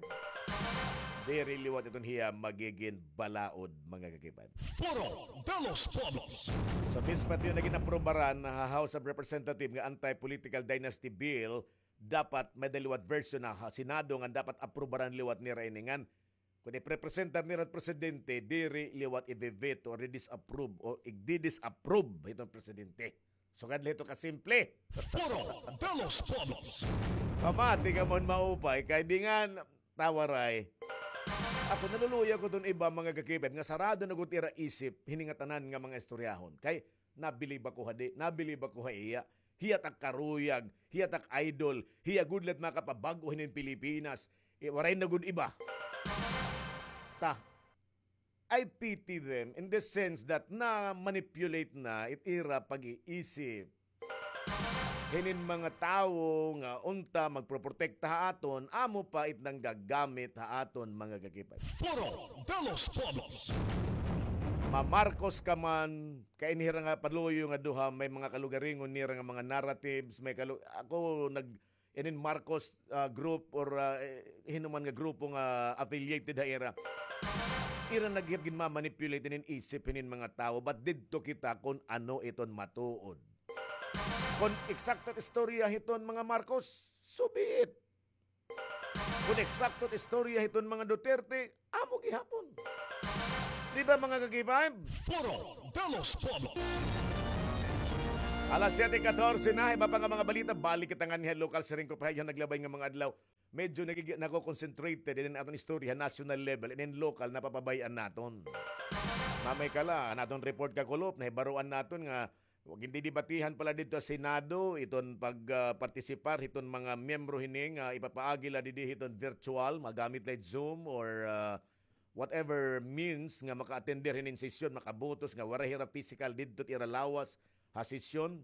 diri liwat iton hiya magigin balaod, mga ka-K five. Foro de los Pueblos. So, mispat iton nagin aprubaran ha House of Representatives nga anti-political dynasty bill, dapat may-ada liwat version ha Senado nga dapat aprubaran liwat nira ini ngan kon iprepresentar nira it presidente, diri liwat i-veto or i-disapprove o igdi-disapprove hiton presidente. Sugad la hito kasimple. Foro de los Pueblos. Pamati ka man maupay, kay dingan, Tawaray. Ako, naluluya ko iton iba, mga ka-K five, nga sarado na gud ira isip hini nga tanan nga mga istoryahon. Kay nabilib ako ha di, nabilib ako ha iya. Hiya it ak karuyag, hiya it ak idol, hiya gud la it makapabag-o hinin Pilipinas. Eh, waray na gud iba. Ta, I pity them in the sense that na-manipulate na it ira pag-iisip hinin mga tawo nga unta magproprotekta ha aton, amo pa it nanggagamit ha aton, mga ka-K five. Foro de los Pueblos. Ma-Marcos ka man, kay ini hira nga paluyo nga duha, may mga kalugaringon nira nga mga narratives, may kalu-, ako nag-, inin Marcos, ah, group or, ah, eh, hin-o man nga grupo nga affiliated ha ira. Ira naghihap ginma-manipulate inin isip hinin mga tawo, but didto kita kon ano iton matuod. Kon eksakto it istorya hiton mga Marcos, so be it. Kon eksakto it istorya hiton mga Duterte, amo gihapon. Di ba, mga ka-K five? Foro de los Pueblos. Alas siyete katorse na, iba pa nga mga balita. Balik kita nganhi ha lokal, siring ko pa ha iyo naglabay nga mga adlaw. Medyo nagigi-, nako-concentrated in aton istorya ha national level, and in local, napapabay-an naton. Mamay kala, an aton report kakulop, nahibaroan naton nga, wa-, gindidebatihan pala didto ha Senado, iton pag, ah, partisipar, hiton mga miyembro hini nga ipapaagi la didi hiton virtual, magamit la Zoom or, ah, whatever means nga maka-attender hinin sesyon, makabotos nga waray hira physical didto it ira lawas ha sesyon.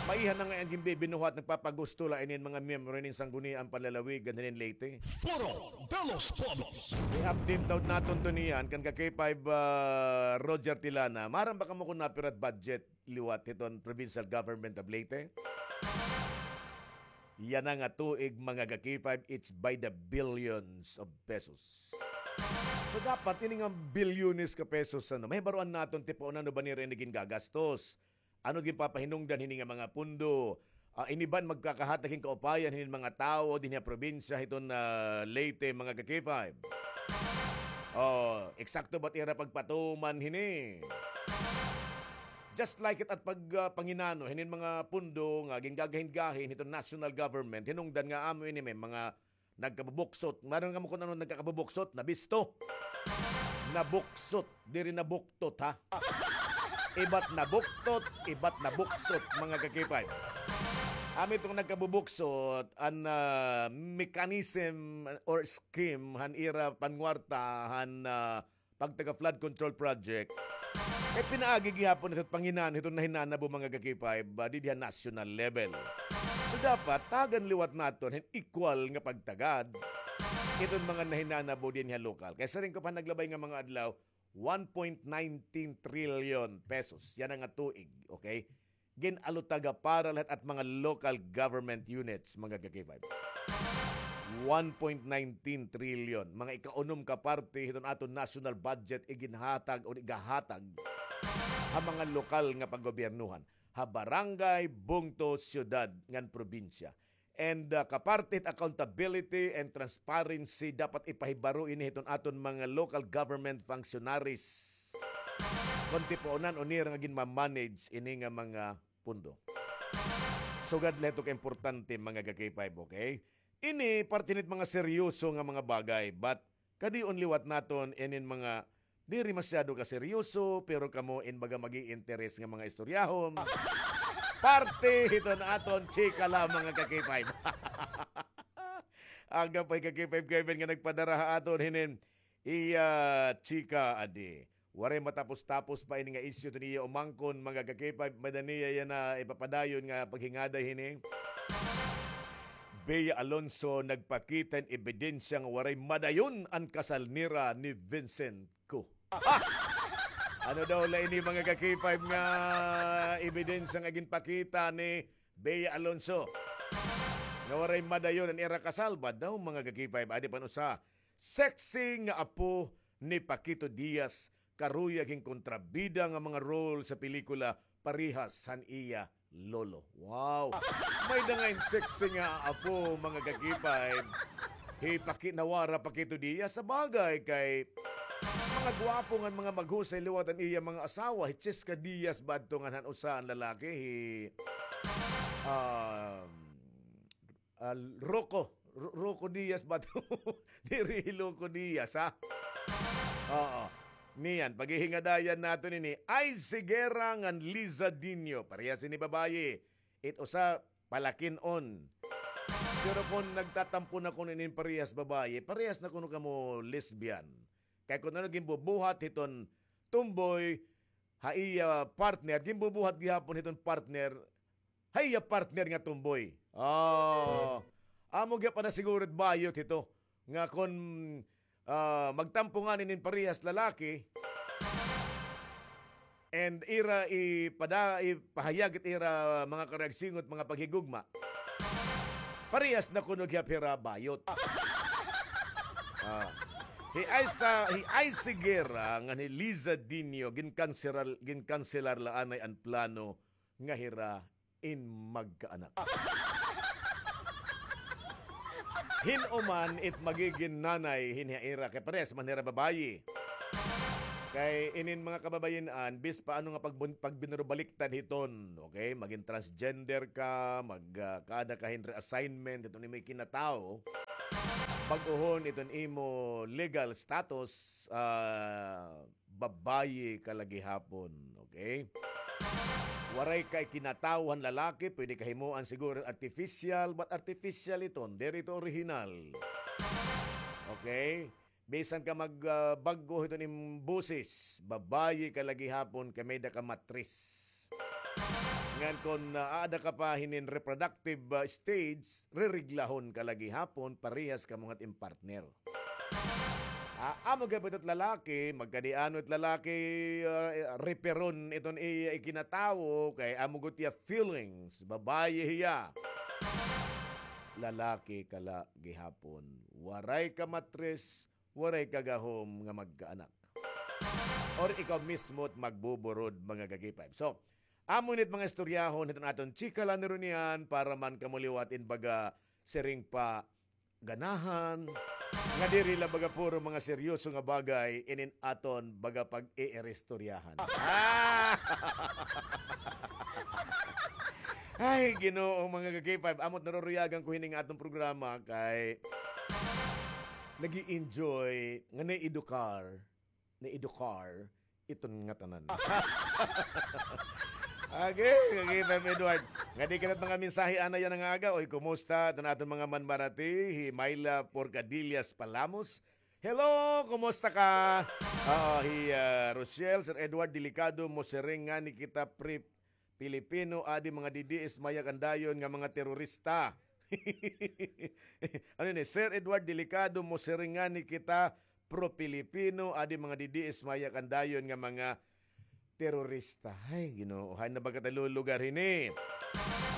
Maiha na ngay-an ginbibinuhat, nagpapagusto la inin mga miyembro hinin Sangguniang Panlalawigan hinin Leyte. Foro de los Pueblos. I-update daw naton to niyan kan ka K five, ah, Roger Tilana. Maaram ba kamo kon napira it budget liwat hiton Provincial Government of Leyte? Yana nga tuig, mga ka-K five, it's by the billions of pesos. So, dapat ini nga bilyones ka pesos, ano, mahibaroan naton tipaon ano ba nira ini gingagastos. Ano ginpapahinungdan hini nga mga pundo? Ah, ini ba an magkakahatag hin kaupayan hinin mga tawo dinhi ha probinsya hiton, ah, Leyte, mga ka-K five? Oh, eksakto ba it ira pagpatuman hini? Just like it at pag, ah, panginano hinin mga pundo nga gingagahin-gahin hiton national government, hinungdan nga amo ini may mga nagkabubuksot. Maaram kamo kon ano nagkakabubuksot? Nabisto. Nabuksot, diri nabuktot, ha? Iba it nabuktot, iba it nabuksot, mga ka-K five. Amo iton nagkabubuksot, an, ah, mechanism or scheme han ira panwarta han, ah, pagtaga flood control project, kay pinaagi gihapon ito panginan-, ito nahinanabo, mga ka-K five, ah, didi ha national level. So, dapat tagan liwat naton hin equal nga pagtagad iton mga nahinanabo dinhi ha lokal. Kay siring ko pa naglabay nga mga adlaw, one point nineteen trillion pesos. Yana nga tuig, okay? Gin-allotaga para lahat at mga local government units, mga ka-K five. One point nineteen trillion, mga ikaunom ka parte hiton aton national budget, iginhatag o igahatag ha mga lokal nga paggobyernohan, ha barangay, bungto, syudad, ngan probinsya. And, uh, kaparte hit accountability and transparency, dapat ipahibaro ini hiton aton mga local government functionaries kon tipaonan-o nira nga ginma-manage ini nga mga pundo. Sugad la hito ka importante, mga ka-K five, okay? Ini parte hit mga seryoso nga mga bagay, but kadi-on liwat naton inin mga diri masyado ka seryoso, pero kamo in baga mag-iinteres nga mga istoryahon. Parte hiton aton chika la, mga ka-K five. Aga pa hi ka-K five Kevin nga nagpadara ha aton hinin iya chika adi. Waray matapos-tapos pa ini nga isyu hiton iya umangkon, mga ka-K five, may-ada niya yana ipapadayon nga paghingaday hini. Bea Alonso nagpakita hin ebidensya nga waray madayon an kasal nira ni Vincent Ku. Ha! Ano daw la ini, mga ka-K five, nga ebidensya nga ginpakita ni Bea Alonso nga waray madayon an ira kasal? Badaw, mga ka-K five, adi pa an usa, sexy nga apo ni Paquito Diaz, karuyag hin kontrabida nga mga role sa pelikula, parehas han iya lolo. Wow! May-ada ngay-an sexy nga apo, mga ka-K five. Hi Paki-, nawara Paquito Diaz, sabagay kay mga gwapo ngan mga maghusay liwat an iya mga asawa. Hi Chesca Diaz ba adto ngan han usa an lalaki, hi, um, ah, Rocco. Ro-, Rocco Diaz ba to? Diri Loco Diaz, ha? Oo. Niyan, paghihingadayan naton ini. Ice Higuera ngan Liza Dinio. Parehas ini babayi. It usa, palakin-on. Pero kon nagtatampo na kuno inin parehas babayi, parehas na kuno kamo lesbian. Kay kon ano ginbubuhat hiton tomboy, ha iya partner, ginbubuhat gihapon hiton partner, ha iya partner nga tomboy. Oh. Amo gihapon na siguro it bayot hito nga kon, ah, magtampo ngani inin parehas lalaki, and ira ipada-, ipahayag it ira mga karuyag singot, mga paghigugma, parehas na kuno gihap hira bayot. Ah. Hi Aisa, hi Ice Higuera ngan hi Liza Dinio, ginkanselar, ginkanselar la anay an plano nga hira in magkaanak. Hin-o man it magigin nanay hin ha ira, kay parehas man hira babayi. Kay inin mga kababayin-an, bis pa ano nga pagbun-, pagbinurubaliktad hiton, okay? Magin transgender ka, mag, ah, kaada ka hin reassignment, hiton imo ikinatawo, bag-ohon iton imo legal status, ah, babayi ka la gihapon, okay? Waray ka ikinatawo han lalaki, pwede ka himoan siguro artificial, but artificial iton, diri ito original. Okay? Bisan ka mag, ah, bag-o hiton im boses, babayi ka la gihapon kay may-ada ka matris. Ngan kon, ah, aada ka pa hinin reproductive, ah, stage, ririglahon ka la gihapon, parehas kamo ngan it im partner. Ah, amo gihapon it lalaki, magkadi-ano it lalaki, ah, reperon iton iya ikinatawo, kay amo gud iya feelings, babayi hiya. Lalaki ka la gihapon. Waray ka matris, waray ka gahom nga magkaanak. Or ikaw mismo it magbuburod, mga ka-K five. So, amo ini it mga istoryahon hiton aton chika la ni Ronian para man kamo liwat in baga siring pa ganahan, nga diri la baga puro mga seryoso nga bagay inin aton baga pag-iiristoryahan. Ah! Ay, Ginoo, mga ka-K five, amo it naruruyagan ko hini nga aton programa kay nag-i-enjoy nga naiedukar, naiedukar iton ngatanan. Okay, okay, Ma'am Edward. Ngadi kita it mga mensahe ana yana nga aga. Oy, kumusta iton aton mga manmarati? Hi Myla Porcadillas Palamos. Hello, kumusta ka? Oo, hi, ah, Rochelle, Sir Edward, delikado mo siring ngani kita pre Pilipino, adi mga D D S mayakan dayon nga mga terorista. Ano ini? Sir Edward, delikado mo siring ngani kita pro-Pilipino, adi mga D D S mayakan dayon nga mga terorista. Ay, Ginoo, hain na ba kita lulugar hini?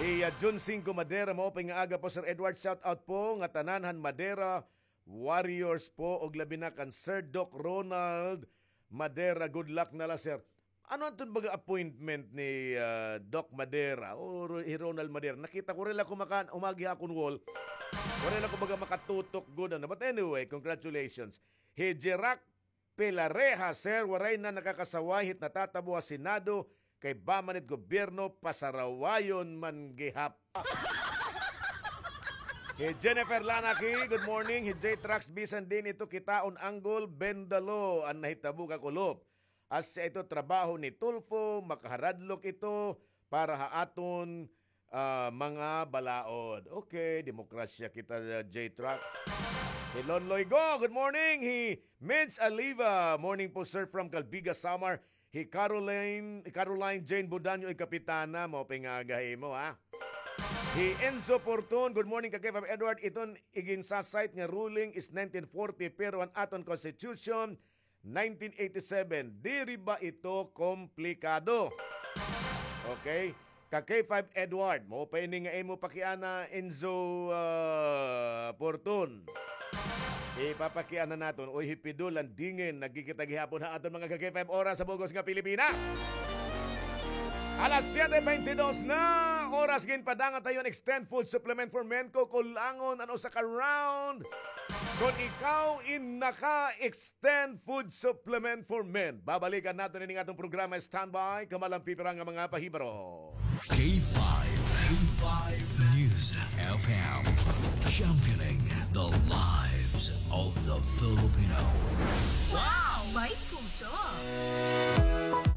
Iya Jun Cinco Madera, maupay nga aga po, Sir Edward. Shout out po nga tanan han Madera Warriors po, og labi na kan Sir Doc Ronald Madera. Good luck na la, sir. Ano aton baga appointment ni, ah, Doc Madera o Ro-, hi Ronald Madera? Nakita ko, waray la ko maka-, umagi ha akon wall. Waray la ko baga makatutok gud, ano. But anyway, congratulations. Hi Jerak Pelareja, sir, waray na nakakasaway hit natatabo ha Senado, kay ba man it gobyerno, pasarawayon man gihap. Hi Jennifer Lanaki, good morning. Hi J Trax, bisan diin ito kitaon, anggol, bendalo an nahitabo, kakulop. Asya ito trabaho ni Tulfo, makaharadlok ito para ha aton, ah, mga balaod. Okay, demokrasya kita, J Trax. Hi Lon Loigo, good morning. Hi Mids Aliva, morning po, sir, from Calbiga, Samar. Hi Caroline, Caroline Jane Budanyo, ay kapitana, maupay nga aga ha imo, ha. Hi Enzo Porton, good morning, ka-K five Edward. Iton iginsasayt nga ruling is nineteen forty, pero an aton constitution, nineteen eighty-seven. Diri ba ito komplikado? Okay. Ka-K five Edward, maupay ini nga imo pakiana, Enzo, ah, Porton. Ipapakiana naton, oy, hi Pido Landingen, nagkikita gihapon ha aton mga ka-K five oras sa bug-os nga Pilipinas. Alas siyete beintidos na, oras ginpadangat ha iyo an Extend Food Supplement for Men. Kukulangon an usa ka round kon ikaw in naka-Extend Food Supplement for Men. Babalikan naton ini nga aton programa. Standby, kamalang pipira nga mga pahibaro. K five, K five News F M, championing the lives of the Filipino. Wow! May puso!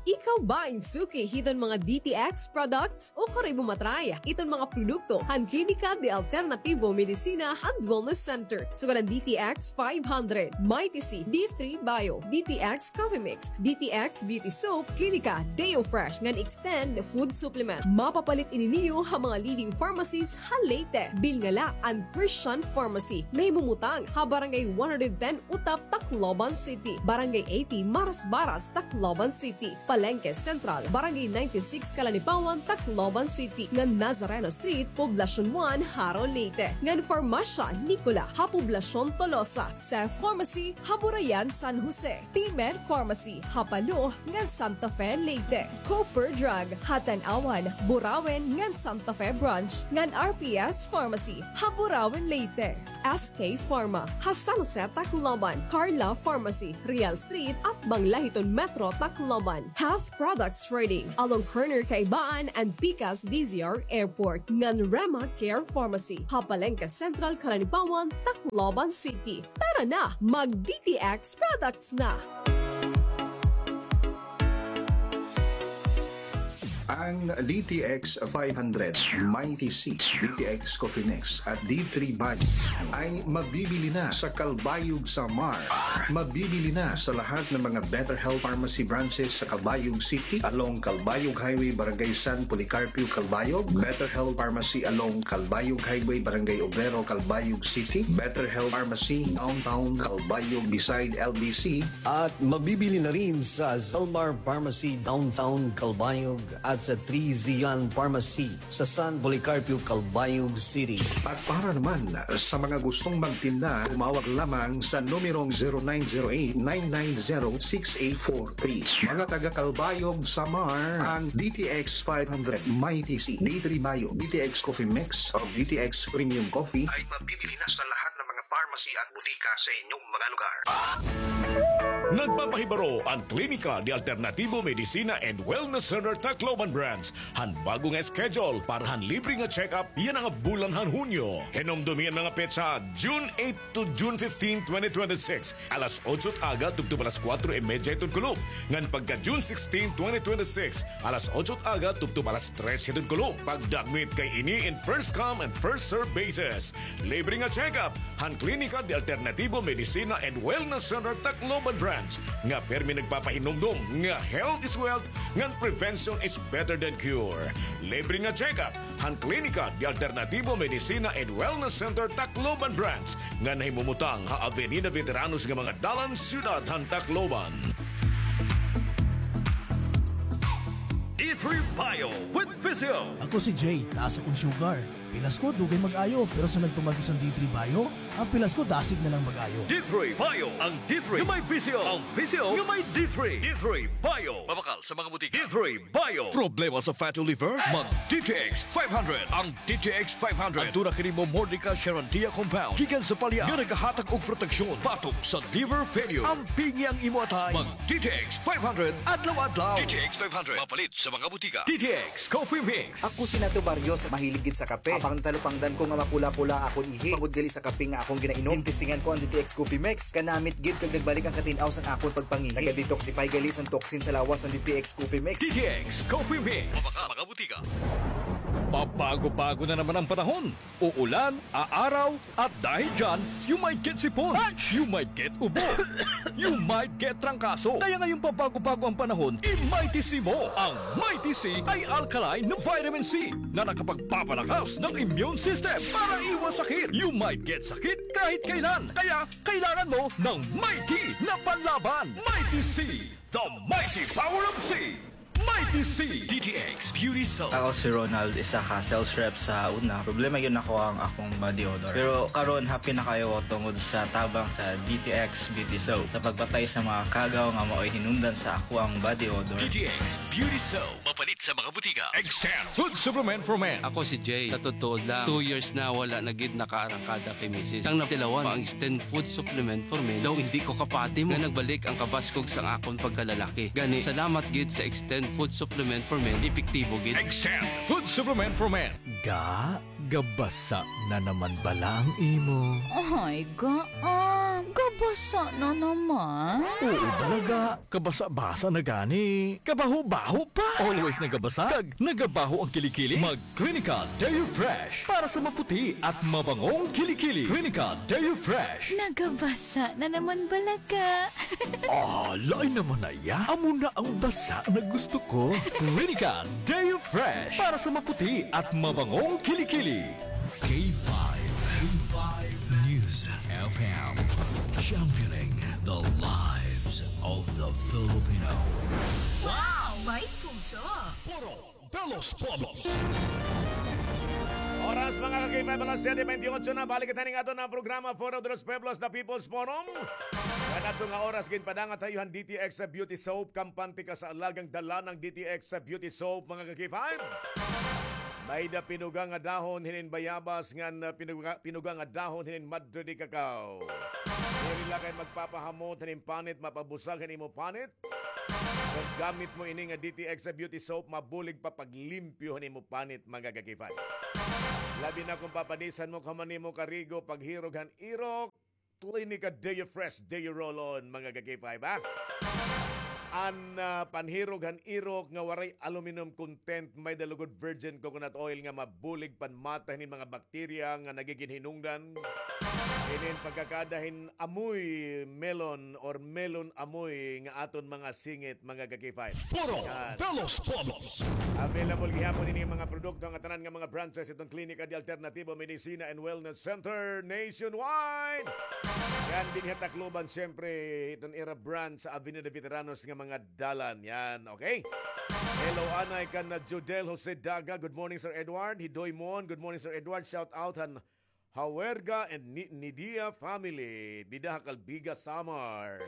Ikaw ba in suki hiton mga D T X products? Ukon imo matry iton mga produkto han Klinika de Alternativo Medicina and Wellness Center. Sugad an D T X five hundred, Mighty C, D three Bio, D T X Coffee Mix, D T X Beauty Soap, Klinika Deo Fresh ngan Extend Food Supplement. Mapapalit ini niyo ha mga leading pharmacies ha Leyte. Bilnga la an Christian Pharmacy. Nahimumutang ha Barangay one hundred ten Utap, Tacloban City, Barangay eighty, Marasbaras, Tacloban City, Palengke Central, Barangay ninety-six, Calanipawan, Tacloban City, ngan Nazareno Street, Poblacion one, Jaro, Leyte, ngan Farmasya Nicola ha Poblacion Tolosa, Seth Pharmacy ha Burayan, San Jose, P-Med Pharmacy ha Palo ngan Santa Fe, Leyte, Cooper Drug ha Tanauan, Burauen ngan Santa Fe Branch, ngan R P S Pharmacy ha Burauen, Leyte. S K Pharma, ha San Jose, Tacloban, Carla Pharmacy, Real Street, atbang la hiton Metro, Tacloban, Half Products Trading, along corner Kaibaan and Pikas D Z R Airport, ngan Rema Care Pharmacy, ha Palengke Central, Calanipawan, Tacloban City. Tara na, mag D T X products na! Ang D T X five hundred, Mighty C, D T X Coffee Mix at D three Bio ay mabibili na sa Calbayog, Samar. Mabibili na sa lahat ng mga Better Health Pharmacy branches sa Calbayog City, along Calbayog Highway, Barangay San Policarpio, Calbayog, Better Health Pharmacy along Calbayog Highway, Barangay Obrero, Calbayog City, Better Health Pharmacy Downtown Calbayog beside L B C, at mabibili na rin sa Zalmar Pharmacy Downtown Calbayog at sa Three Zion Pharmacy sa San Policarpio, Calbayog City. At para naman sa mga gustong magtinda, tumawag lamang sa numerong zero nine zero eight, nine nine zero, six eight four three. Mga taga Calbayog, Samar, ang D T X five hundred, Mighty C, D three Bio, D T X Coffee Mix, o D T X Premium Coffee ay mabibili na sa lahat ng mga pharmacy at butika sa inyong mga lugar. Nagpapahibaro an Klinika de Alternativo Medicina and Wellness Center Tacloban Branch han bago nga schedule para han libre nga check-up yana nga bulan han Hunyo. Hinumdumi an mga petsa, June eight to June fifteen, twenty twenty-six, alas otso it aga tubtob alas kuwatro y medya hiton kulop, ngan pagka June sixteen, twenty twenty-six, alas otso it aga tubtob alas tres hiton kulop. Pagdakmit kay ini in first come and first serve basis. Libre nga check-up han Klinika de Alternativo Medicina and Wellness Center Tacloban Branch nga pirmi nagpapahinumdom nga health is wealth ngan prevention is better than cure. Libre nga check-up han Klinika de Alternativo Medicina and Wellness Center Tacloban Branch nga nahimumutang ha Avenida Veteranos nga mga dalan, siyudad han Tacloban. D three Bio with Visio. Ako si Jay, taas akon sugar. Pilas ko, dugay mag-ayo, pero sa nagtuman ko san D three Bio, an pilas ko dasig na lang mag-ayo. D three Bio, ang D three nga may Visio, ang Visio nga may D three. D three Bio. Mabakal sa mga butika. D three Bio. Problema sa fatty liver? Mag D T X five hundred. Ang D T X five hundred. Aduna kini Momordica charantia compound gikan sa palya nga nagahatag og proteksyon batok sa liver failure. Ampingi ang imo atay. Mag D T X five hundred adlaw-adlaw. D T X five hundred. Mapalit sa mga butika. D T X Coffee Mix. Ako si Nato Barrios, mahilig gid sa kape. Apang natalupangdan ko nga mapula-pula akon ihi tungod gali sa kape nga akon ginainom. Gintestingan ko an D T X Coffee Mix. Kanamit gid kag nagbalik an katin-aw sang akon pagpangihi. Naga-detoxify gali san toxin sa lawas an D T X Coffee Mix. D T X Coffee Mix. Mabakal sa mga butika. Pabago-bago na naman ang panahon. Uulan, aaraw, at dahil dyan, you might get sipon, you might get ubo, you might get trangkaso. Kaya ngayong pabago-bago ang panahon, i-Mighty C mo. Ang Mighty C ay alkaline na vitamin C na nakapagpapalakas ng immune system para iwas sakit. You might get sakit kahit kailan. Kaya kailangan mo ng Mighty na panlaban. Mighty C, the mighty power of C. Mighty C. D T X Beauty Soap. Ako si Ronald, isa ka sales rep sa una. Problema gyud nako ang akong body odor. Pero karon, happy na kaayo ako tungod sa tabang sa D T X Beauty Soap sa pagpatay sa mga kagaw nga maoy hinungdan sa akoang body odor. D T X Beauty Soap. Mapalit sa mga butika. Extend Food Supplement for Men. Ako si Jay. Sa totoo lang, two years na wala na gid nakaarangkada kay misis. Sang natilawan pa ang Extend Food Supplement for Men, daw indi ko kapati mo nga nagbalik ang kabaskog sang akon pagkalalaki. Gani, salamat gid sa Extend Food Supplement for Men, epektibo gid. Extend Food Supplement for Men. Ga, gabasa na naman bala ang imo? Ay, ga, ah, gabasa na naman. Oo, talaga. Kabasa-basa na gani. Kabaho-baho pa. Always nagabasa. Kag nagabaho ang kilikili. Mag Clinical Deo Fresh para sa maputi at mabangong kilikili. Clinical Deo Fresh. Nagabasa na naman bala ka. Ah, lain naman na iya. Amo na ang basa na gusto ko. Clinical Deo Fresh para sa maputi at mabangong kilikili. K five, K five News F M, championing the lives of the Filipino. Wow! May puso! Puro Pelos Pueblos. Oras, mga ka-K five, alas siyete bentiyotso na. Balik kita ning aton nga programa, Foro de los Pueblos, The People's Forum. Kanato nga oras, ginpadangat ha iyo han D T X Beauty Soap. Kampante ka sa alagang dala ng D T X Beauty Soap, mga ka-K five. May-ada pinuga nga dahon hinin bayabas ngan, ah, pinuga, pinuga nga dahon hinin madre de cacao. Diri la kay magpapahamot hinin panit, mapabusag han imo panit. Kon gamit mo ini nga D T X sa beauty soap, mabulig pa paglimpyo han imo panit, mga ka-K five. Labi na kon papadisan mo kahuman nimo karigo, paghirog han irok, Clinica Deo Fresh, Deo Roll-On, mga ka-K five, ha? An, ah, panhirog han irok nga waray aluminum content, may-ada lugod virgin coconut oil nga mabulig panmata hinin mga bakterya nga nagigin hinungdan. Inin pagkakada hin amoy melon or melon amoy nga aton mga singit, mga ka-K five. Foro de los Pueblos. Available gihapon ini mga produkto nga tanan nga mga branches hiton Klinika de Alternativo Medicina and Wellness Center nationwide. Yan, dinhi ha Tacloban, siyempre, hiton ira branch sa Avenida Veteranos nga mga dalan. Yan, okay? Hello, anay kan Judel Jose Daga. Good morning, Sir Edward. Hidoy Mon. Good morning, Sir Edward. Shout out han Hawerga and Ni-, Nidia family, dida ha Calbiga, Samar.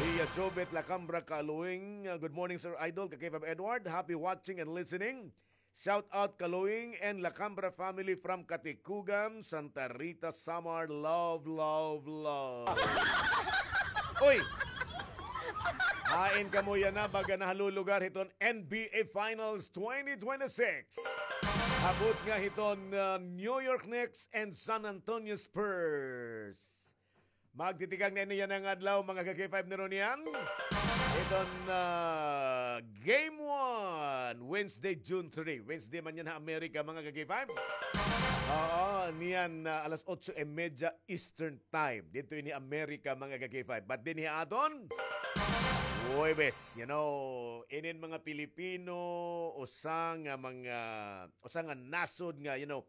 Iya Jovet Lacambra Kaluing, uh, good morning, Sir Idol, ka-K five Edward. Happy watching and listening. Shout out Kaluing and Lacambra family from Katicogan, Santa Rita, Samar. Love, love, love. Uy! Hain kamo yana, baga nahalulugar hiton N B A Finals twenty twenty-six. Abot nga hiton, uh, New York Knicks and San Antonio Spurs. Magtitikang na ini yana nga adlaw, mga ka-K five, ni Ronian. Hiton, uh, game one, Wednesday, June three. Wednesday man yana ha Amerika, mga ka-K five. Oo, niyan, uh, alas otso y media Eastern Time. Didto ini Amerika, mga ka-K five. But dinhi ha aton, Huwebes, you know, inin mga Pilipino, usa nga mga, usa nga nasod nga, you know,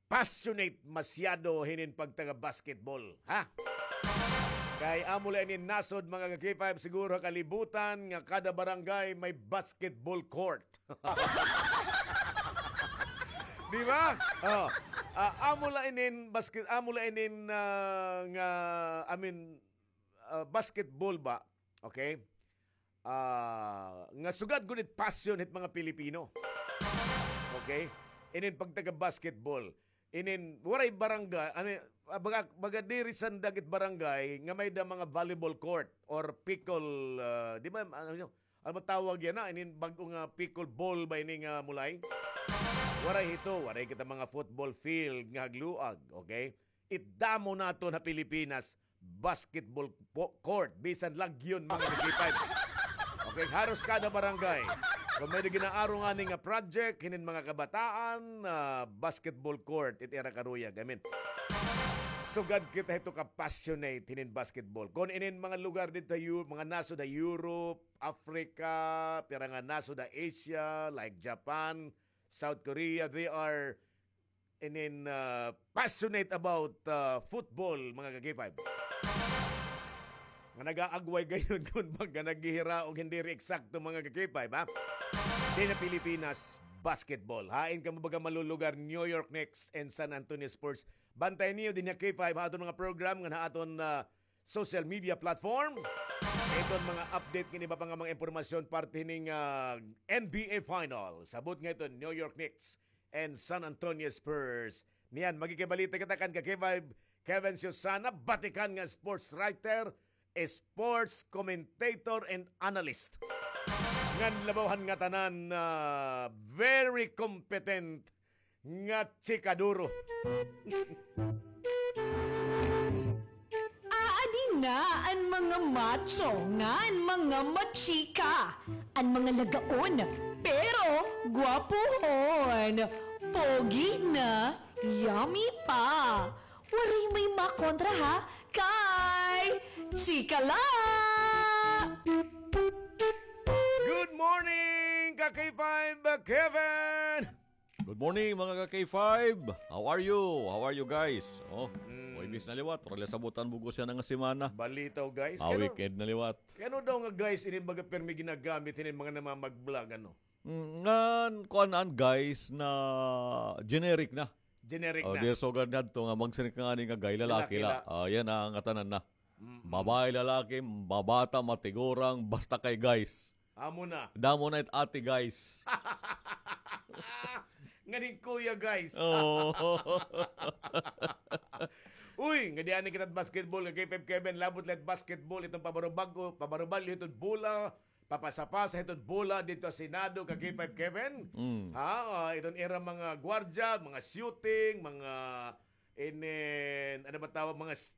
passionate masyado hinin pagtaga-basketball, ha? Kay amo la inin nasod, mga ka-K five, siguro ha kalibutan nga kada barangay may basketball court. Di ba? Oh. Ah, amo la inin basket, amo la inin, ah, nga, I mean, ah, basketball ba? Okay? Ah, nga sugad gud it passion hit mga Pilipino. Okay? Inin pagtaga-basketball. Inin, waray barangay, ano, ah, baga, baga diri sandag it barangay nga may-ada mga volleyball court or pickle, ah, di ba, ano, ano matawag yana? Inin bag-o nga pickle ball ba ini nga mulay? Waray hito, waray kita mga football field nga hagluag, okay? It damo naton ha Pilipinas, basketball po-, court, bisan lagyon, mga ka-K five. Okay, haros kada barangay. Kon may ginaaro ngani nga project, hinin mga kabataan, ah, basketball court, it ira karuyag. I mean, sugad kita hito ka-passionate hinin basketball. Kon inin mga lugar didto ha Eu-, mga nasod ha Europe, Africa, pira nga nasod ha Asia, like Japan, South Korea, they are inin, ah, passionate about, ah, football, mga ka-K five. Nga nag-aagway gayon kon baga naghihiraog, hindi rin eksakto, mga ka-K five, ha? Dinhi ha Pilipinas, basketball. Hain kamo baga malulugar, New York Knicks and San Antonio Spurs. Bantay niyo dinhi ha K five, ha aton mga program, nga ha aton, ah, social media platform. Iton mga update ngan iba pa nga mga impormasyon parte hining, ah, N B A Finals. Abot nga iton New York Knicks and San Antonio Spurs. Niyan, maghikibalita kita kan ka-K five Kevin Susana, batikan nga sports writer, sports commentator, and analyst. Ngan labaw han ngatanan, ah, very competent nga chikaduro. Aadi na an mga macho ngan mga machika, an mga lagaon, pero gwapohon, pogi na, yummy pa. Waray may makontra ha kay Chika La! Good morning, ka K five Kevin! Good morning, mga ka K five. How are you? How are you, guys? Oh, Huwebes na liwat. Wala sabutan bug-os yana nga semana. Balitaw, guys. Ah, weekend na liwat. Kay ano daw nga, guys, ini baga pirmi ginagamit hinin mga namamag-vlog, ano? Mm, ngan, kuan an, guys, na generic na. Generic na. Oh, di sugad ngadto nga magsiring ka ngani nga guy, lalaki la. Ah, yana, ngatanan na. Babae, lalaki, mabata, matigurang, basta kay guys. Amo na. Damo na it ate, guys. Nganing kuya, guys. Oh. Uy, nga di ani kita basketball, ka K five Kevin, labot lahat basketball, itong pabarubag-o, pabarubag, itong bola, papasapasa, itong bola dito sa Senado, ka K five Kevin. Mm. Ha, ah, itong era mga gwardya, mga shooting, mga, inin, ano ba tawag, mga s-